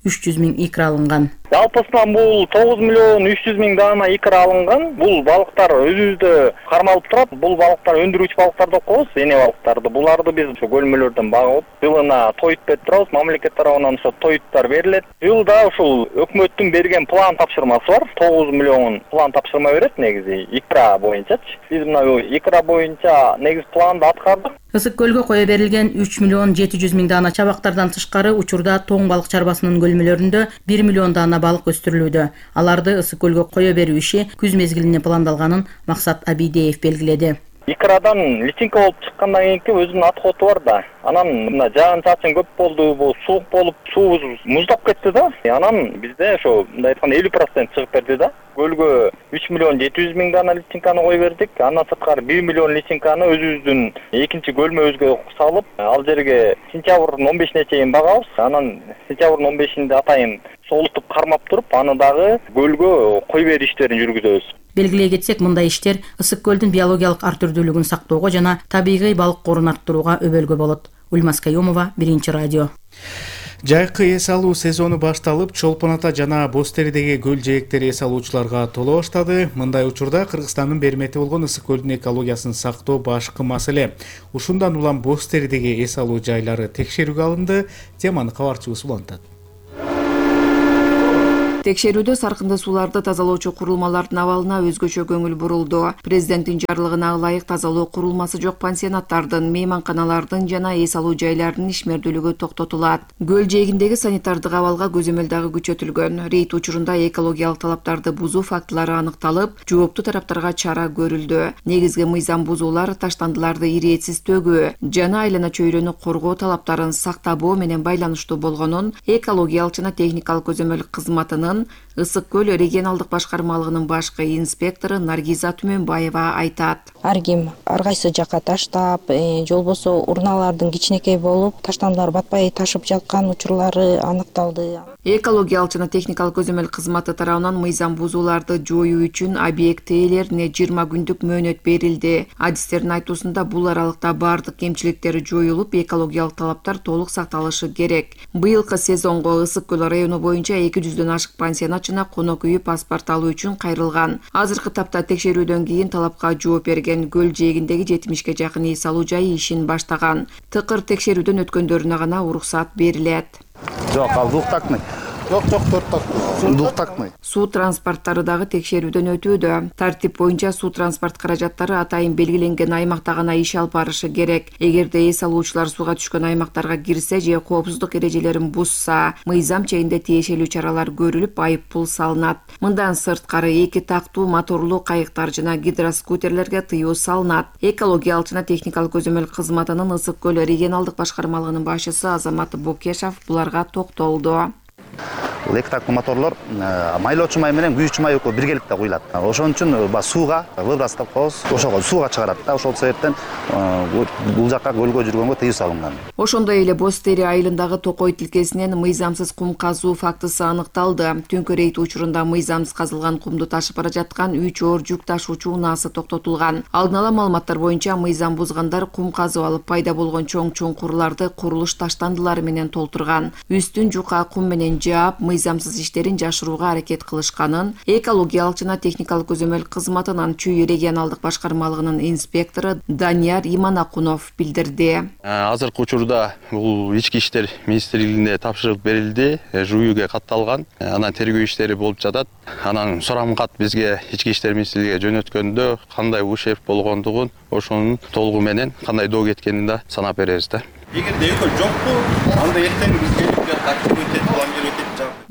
икра алынган. Жалпысынан бул 9 миллион 300 миң даана икра алынган. Бул балыктар өзүбүздө кармалып турат. Бул балыктар өндүрүүчү балыктар деп коебуз, эне балыктарды. Буларды биз ошо көлмөлөрдөн багып, жылына тоют берип турабыз. Мамлекет тарабынан ошо тоюттар берилет. Жылда ушул өкмөттүн берген план тапшырмасы бар. 9 миллион план тапшырма берет негизи икра боюнчачы. Биз мына икра боюнча негизи планды аткардык. Ысык көлгө кое берилген 3 миллион 700 миң даана чабактардан тышкары учурда тоң балык чарбасынын көлмөлөрүндө 1 миллион даана балык өстүрүлүүдө. Аларды ысык көлгө кое берүү иши күз мезгилине пландалганын Максат Абидеев белгиледи. Икрадан личинка болуп чыккандан кийинки өзүнүн отходу бар да. Анан мына жаан-чачын көп болду, бул суук болуп, суубуз муздап кетти да. Анан бизде ошо мындай айтканда 50% чыгып берди да. Көлгө 3 миллион 700 миң даана личинканы кое бердик. Андан сырткары 1 миллион личинканы өзүбүздүн экинчи көлмөбүзгө салып, ал жерге сентябрдын 15-ине чейин багабыз. Анан сентябрдын 15-инде атайын солутуп кармап туруп, аны дагы көлгө кой берүү иштерин жүргүзөбүз. Белгилей кетсек, мындай иштер ысык көлдүн биологиялык ар түрдүүлүгүн сактоого жана табигый балык корун арттырууга өбөлгө болот. Ульмас Каюмова, Биринчи радио. Жайкы эс алуу сезону башталып, Чолпон ата жана Боз теридеги көл жээктери эс алуучуларга толо баштады. Мындай учурда Кыргызстандын бермети болгон ысык көлдүн экологиясын сактоо башкы маселе. Ушундан улам Боз теридеги эс алуу жайлары текшерүүгө алынды. Теманы кабарчыбыз улантат. Текшерүүдө саркынды сууларды тазалоочу курулмалардын абалына өзгөчө көңүл бурулду. Президенттин жарлыгына ылайык тазалоо курулмасы жок пансионаттардын, мейманканалардын жана эс алуу жайларынын ишмердүүлүгү токтотулат. Көл жээгиндеги санитардык абалга көзөмөл дагы күчөтүлгөн. Рейд учурунда экологиялык талаптарды бузуу фактылары аныкталып, жооптуу тараптарга чара көрүлдү. Негизги мыйзам бузуулар таштандыларды ириэтсиз төгүү жана айлана чөйрөнү коргоо талаптарын сактабоо менен байланыштуу болгонун экологиялык жана техникалык көзөмөл кызматынын Ысык көл регионалдык башкармалыгынын башкы инспектору Наргиза Түмөнбаева айтат. Ар ким ар кайсы жакка таштап, же болбосо урналардын кичинекей болуп, таштандылар батпай ташып жаткан учурлары аныкталды. Экологиялык жана техникалык көзөмөл кызматы тарабынан мыйзам бузууларды жоюу үчүн объект ээлерине 20 күндүк мөөнөт берилди. Адистердин айтуусунда бул аралыкта бардык кемчиликтер жоюлуп, экологиялык талаптар толук сакталышы керек. Быйылкы сезонго Ысык көл району боюнча 200дөн ашык пансионат жана конок үйү паспорт алуу үчүн кайрылган. Азыркы тапта текшерүүдөн кийин талапка жооп берген көл жээгиндеги 70ге жакын эс алуу жайы ишин баштаган. Тыкыр текшерүүдөн өткөндөрүнө гана уруксат берилет. Жок, ал двухтактный. Жок, двухтактный. Суу транспорттары дагы текшерүүдөн өтүүдө. Тартип боюнча суу транспорт каражаттары атайын белгиленген аймакта гана иш алып барышы керек. Эгерде эс алуучулар сууга түшкөн аймактарга кирсе же коопсуздук эрежелерин бузса, мыйзам чегинде тиешелүү чаралар көрүлүп, айып пул салынат. Мындан сырткары 2 тактуу моторлуу кайыктар жана гидроскутерлерге тыюу салынат. Экологиялык жана техникалык көзөмөл кызматынын Ысык көл регионалдык башкармалыгынын башчысы Азамат Бокешов буларга токтолду. Эки тактуу моторлор майлоочу май менен күйүүчү май экөө биргеликте куюлат. Ошон үчүн сууга выброс деп коебуз. Ошого сууга чыгарат да. Ошол себептен бул жакка көлгө жүргөнгө тыюу салынган. Ошондой эле Боз тери айылындагы Токой тилкесинен мыйзамсыз кум казуу фактысы аныкталды. Түнкү рейд учурунда мыйзамсыз казылган кумду ташып бара жаткан 3 оор жүк ташуучу унаасы токтотулган. Алдын ала маалыматтар боюнча мыйзам бузгандар кум казып алып пайда болгон чоң чуңкурларды курулуш таштандылары менен толтурган. Үстүн жука кум менен жаап, мыйзамсыз иштерин жашырууга аракет кылышканын экологиялык жана техникалык көзөмөл кызматынын Чүй регионалдык башкармалыгынын инспектору Данияр Иманакунов билдирди. Азыркы учурда бул ички иштер министрлигине тапшырык берилди, жүйүүгө катталган. Анан тергөө иштери болуп жатат. Анан сурам кат бизге ички иштер министрлигине жөнөткөндө кандай ушерб болгондугун, ошонун толугу менен кандай доо кеткенин да санап беребиз да. Эгерде экөө жокпу, анда эртең бизге тактик өтөт, план өтөт.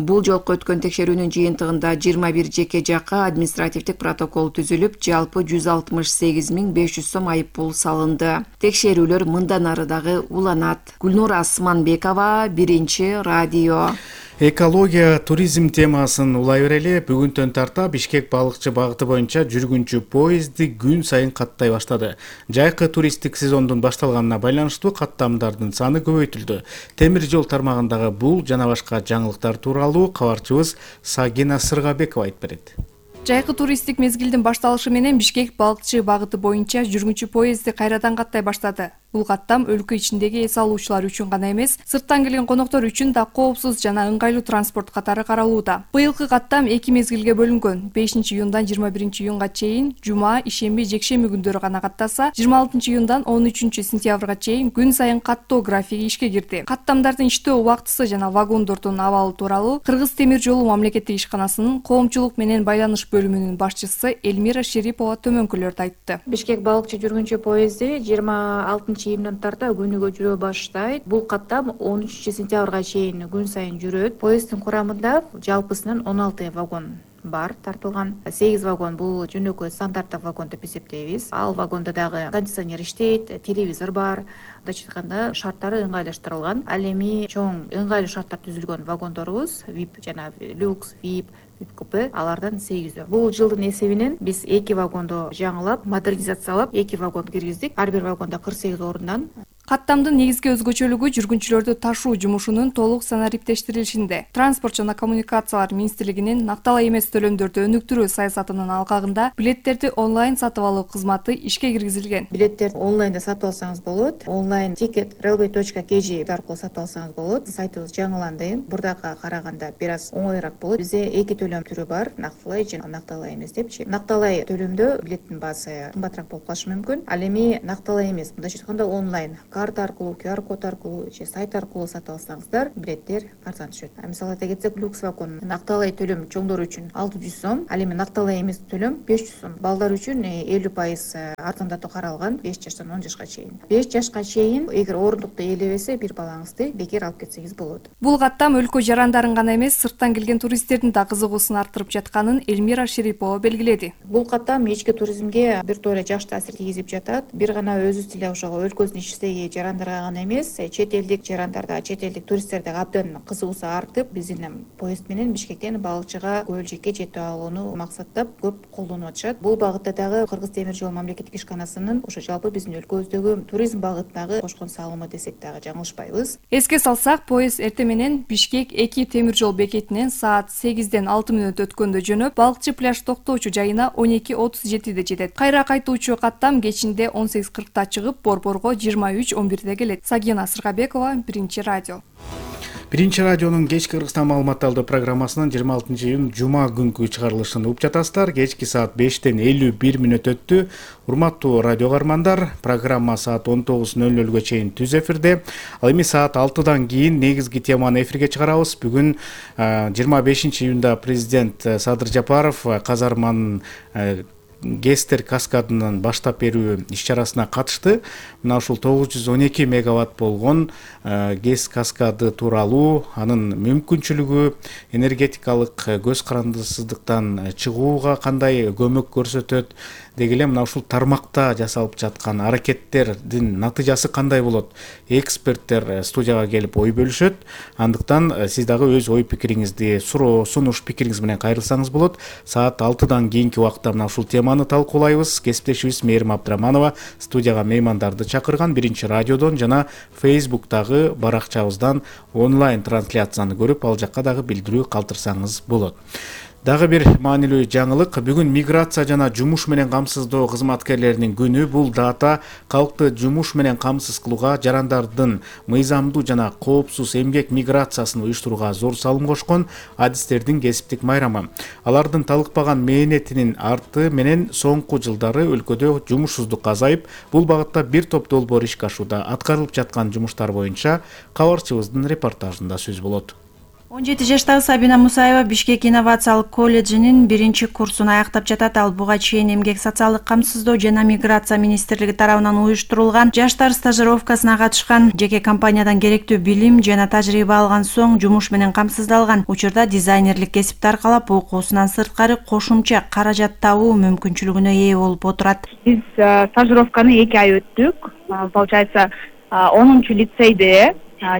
Бул жолку өткөн текшерүүнүн жыйынтыгында 21 жеке жакка административдик протокол түзүлүп, жалпы 168.500 сом айып пул салынды. Текшерүүлөр мындан ары дагы уланат. Гүлнур Асманбекова, Биринчи радио. Экология, туризм темасын улай берели. Бүгүндөн тарта Бишкек балыкчы багыты боюнча жүргүнчү поезди күн сайын каттай баштады. Жайкы туристтик сезондун башталганына байланыштуу каттамдардын саны көбөйтүлдү. Темир жол тармагындагы бул жана башка жаңылыктар тууралуу кабарчыбыз Сагина Сыргабекова айтып берет. Жайкы туристтик мезгилдин башталышы менен Бишкек балыкчы багыты боюнча жүргүнчү поезди кайрадан каттай баштады. Бул каттам өлкө ичиндеги эс алуучулар үчүн гана эмес, сырттан келген коноктор үчүн да коопсуз жана ыңгайлуу транспорт катары каралууда. Быйылкы каттам 2 мезгилге бөлүнгөн. 5-июндан 21-июнга чейин жума, ишемби, жекшемби күндөрү гана каттаса, 26-июндан 13-сентябрга чейин күн сайын каттоо графиги ишке кирди. Каттамдардын иштөө убактысы жана вагондордун абалы тууралуу Кыргыз темир жолу мамлекеттик ишканасынын коомчулук менен байланыш бөлүмүнүн башчысы Элмира Шерипова төмөнкүлөрдү айтты. Бишкек балыкчы жүргүнчү поезди 26-июндан тарта күнүгө жүрө баштайт. Бул каттам 13-сентябрга чейин күн сайын жүрөт. Поезддин курамында жалпысынан 16 вагон бар тартылган. 8 вагон бул жөнөкөй стандарттык вагон деп эсептейбиз. Ал вагондо дагы кондиционер иштейт, телевизор бар. Мындайча айтканда шарттары ыңгайлаштырылган. Ал эми чоң ыңгайлуу шарттар түзүлгөн вагондорубуз VIP жана люкс, VIP купе алардан 8. Бул жылдын эсебинен биз 2 вагондо жаңылап, модернизациялап 2 вагон киргиздик. Ар бир вагонда 48 орундан. Каттамдын негизги өзгөчөлүгү жүргүнчүлөрдү ташуу жумушунун толук санариптештирилишинде. Транспорт жана коммуникациялар министрлигинин накталай эмес төлөмдөрдү өнүктүрүү саясатынын алкагында билеттерди онлайн сатып алуу кызматы ишке киргизилген. Билеттерди онлайнда сатып алсаңыз болот. Онлайн ticket.railway.kg аркылуу сатып алсаңыз болот. Сайтыбыз жаңыланды. Бурдакыга караганда бир аз оңоюраак болот. Бизде 2 төлөм түрү бар. Накталай жана накталай эмес депчи. Накталай төлөмдө билеттин баасы кымбатыраак болуп калышы мүмкүн. Ал эми накталай эмес, мындайча айтканда онлайн карта аркылуу, QR код аркылуу же сайт аркылуу сатып алсаңыздар, билеттер арзан түшөт. Мисалы айта кетсек, люкс вагон накталай төлөм чоңдор үчүн 600 сом, ал эми накталай эмес төлөм 500 сом. Балдар үчүн 50% арзандатуу каралган 5 жаштан 10 жашка чейин. 5 жашка чейин эгер орундукту ээлебесе, бир балаңызды бекер алып кетсеңиз болот. Бул каттам өлкө жарандарын гана эмес, сырттан келген туристтердин да кызыгуусун арттырып жатканын Элмира Шерипова белгиледи. Бул каттам ички туризмге бир тоора жакшы таасир тийгизип жатат. Бир гана өзүбүз эле ошого өлкөбүздүн ичиндеги жарандарга гана эмес, чет элдик жарандарда, чет элдик туристтерде абдан кызыгуусу артып, биздин поезд менен Бишкектен балыкчыга, Көөлжекке жетип алууну максаттап көп колдонуп атышат. Бул багытта дагы Кыргыз темир жол мамлекеттик ишканасынын ошо жалпы биздин өлкөбүздөгү туризм багытындагы кошкон салымы десек дагы жаңылышпайбыз. Эске салсак, поезд эртең менен Бишкек 2 темир жол бекетинен саат 8ден 6 мүнөт өткөндө жөнөп, балыкчы пляж токтоочу жайына 12:37 жетет. Кайра кайтуучу каттам кечинде 18:40 чыгып, Борборго 23:11 келет. Сагина Сыргабекова, Биринчи радио. Биринчи радионун кечки Кыргызстан маалыматталды программасынын 26-июнь жума күнкү чыгарылышын угуп жатасыздар. Кечки саат 5ден 51 мүнөт өттү. Урматтуу радио каармандар, программа саат 19:00 чейин түз эфирде. Ал эми саат 6дан кийин негизги теманы эфирге чыгарабыз. Бүгүн 25-июнда президент Садыр Жапаров казарманын Гестер каскадынын баштап берүү иш-чарасына катышты. Мына ушул 912 мегаватт болгон ГЭС каскады тууралуу, анын мүмкүнчүлүгү, энергетикалык көз карандысыздыктан чыгууга кандай көмөк көрсөтөт, деги эле мына ушул тармакта жасалып жаткан аракеттердин натыйжасы кандай болот? Эксперттер студияга келип ой бөлүшөт. Андыктан сиз дагы өз ой пикириңизди, суроо, сунуш пикириңиз менен кайрылсаңыз болот. Саат 6дан кийинки убакта мына ушул теманы талкуулайбыз. Кесиптешибиз Мээрим Абдыраманова студияга меймандарды чакырган. Биринчи радиодон жана Facebook'тагы баракчабыздан онлайн трансляцияны көрүп, ал жакка дагы билдирүү калтырсаңыз болот. Дагы бир маанилүү жаңылык. Бүгүн миграция жана жумуш менен камсыздоо кызматкерлеринин күнү. Бул дата калкты жумуш менен камсыз кылууга, жарандардын мыйзамдуу жана коопсуз эмгек миграциясын уюштурууга зор салым кошкон адистердин кесиптик майрамы. Алардын талыкпаган мээнетинин арты менен соңку жылдары өлкөдө жумушсуздук азайып, бул багытта бир топ долбоор ишке ашууда. Аткарылып жаткан жумуштар боюнча кабарчыбыздын репортажында сөз болот. 17 жаштагы Сабина Мусаева Бишкек инновациялык колледжинин 1-курсун аяктап жатат. Ал буга чейин эмгек социалдык камсыздоо жана миграция министрлиги тарабынан уюштурулган жаштар стажировкасына катышкан. Жеке компаниядан керектүү билим жана тажрыйба алган соң жумуш менен камсыздалган. Учурда дизайнерлик кесипти аркалап окуусунан сырткары кошумча каражат табуу мүмкүнчүлүгүнө ээ болуп отурат. Биз стажировканы 2 ай өттүк. Получается 10-чу лицейде,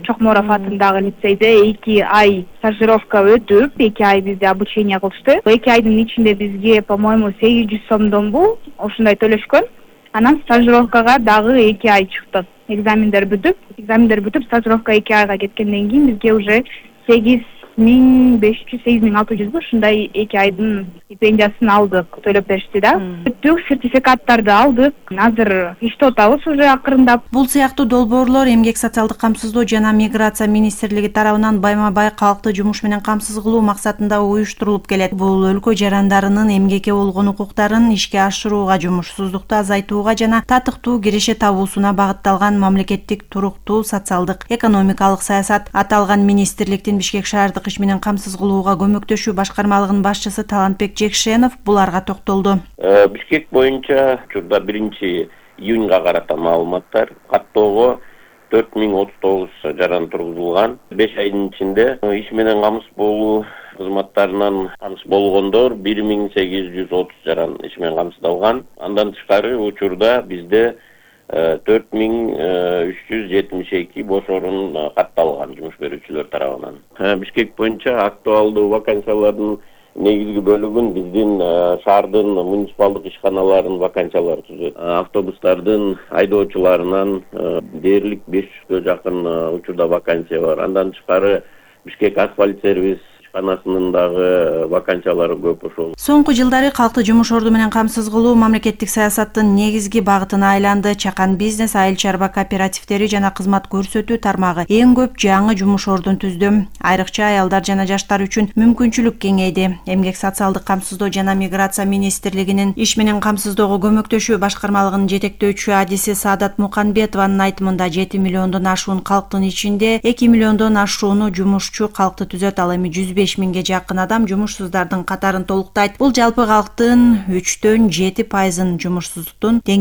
Чокморов атындагы лицейде 2 ай стажировка өтүп, 2 ай бизде обучение кылышты. 2 айдын ичинде бизге, по-моему, 800 сомдон бул ушундай төлөшкөн. Анан стажировкага дагы 2 ай чыктык. Экзамендер бүтүп, стажировка 2 айга кеткенден кийин бизге уже 8 1500 8600 ушундай 2 айдын стипендиясын алдык, төлөп беришти да. Бүттүк, сертификаттарды алдык. Азыр иштеп атабыз уже акырындап. Бул сыяктуу долбоорлор Эмгек социалдык камсыздоо жана миграция министрлиги тарабынан байма-бай калкты жумуш менен камсыз кылуу максатында уюштурулуп келет. Бул өлкө жарандарынын эмгекке болгон укуктарын ишке ашырууга, жумушсуздукту азайтууга жана татыктуу киреше табуусуна багытталган мамлекеттик туруктуу социалдык экономикалык саясат. Аталган министрликтин Бишкек шаардык иш менен камсыз кылууга көмөктөшүү башкармалыгынын башчысы Талантбек Жекшенов буларга токтолду. Бишкек боюнча учурда 1-июнга карата маалыматтар каттоого 4039 жаран тургузулган. 5 айдын ичинде иш менен камсыз болуу кызматтарынан камсыз болгондор 1830 жаран иш менен камсыздалган. Андан тышкары учурда бизде 4372 бош орун катталган жумуш берүүчүлөр тарабынан. Бишкек боюнча актуалдуу вакансиялардын негизги бөлүгүн биздин шаардын муниципалдык ишканаларынын вакансиялары түзөт. Автобустардын айдоочуларынан дээрлик 500гө жакын учурда вакансия бар. Андан тышкары Бишкек асфальт сервис ишканасынын дагы вакансиялары көп ошол. Соңку жылдары калкты жумуш орду менен камсыз кылуу мамлекеттик саясаттын негизги багытына айланды. Чакан бизнес, айыл чарба кооперативдери жана кызмат көрсөтүү тармагы эң көп жаңы жумуш ордун түздү. Айрыкча аялдар жана жаштар үчүн мүмкүнчүлүк кеңейди. Эмгек социалдык камсыздоо жана миграция министрлигинин иш менен камсыздоого көмөктөшүү башкармалыгынын жетектөөчү адиси Саадат Муканбетованын айтымында 7 миллиондон ашуун калктын ичинде 2 миллиондон ашууну жумушчу калкты түзөт. Ал эми 105 миңге жакын адам жумушсуздардын катарын толуктайт. Бул жалпы калктын 3-7% жумушсуздуктун деңгээли.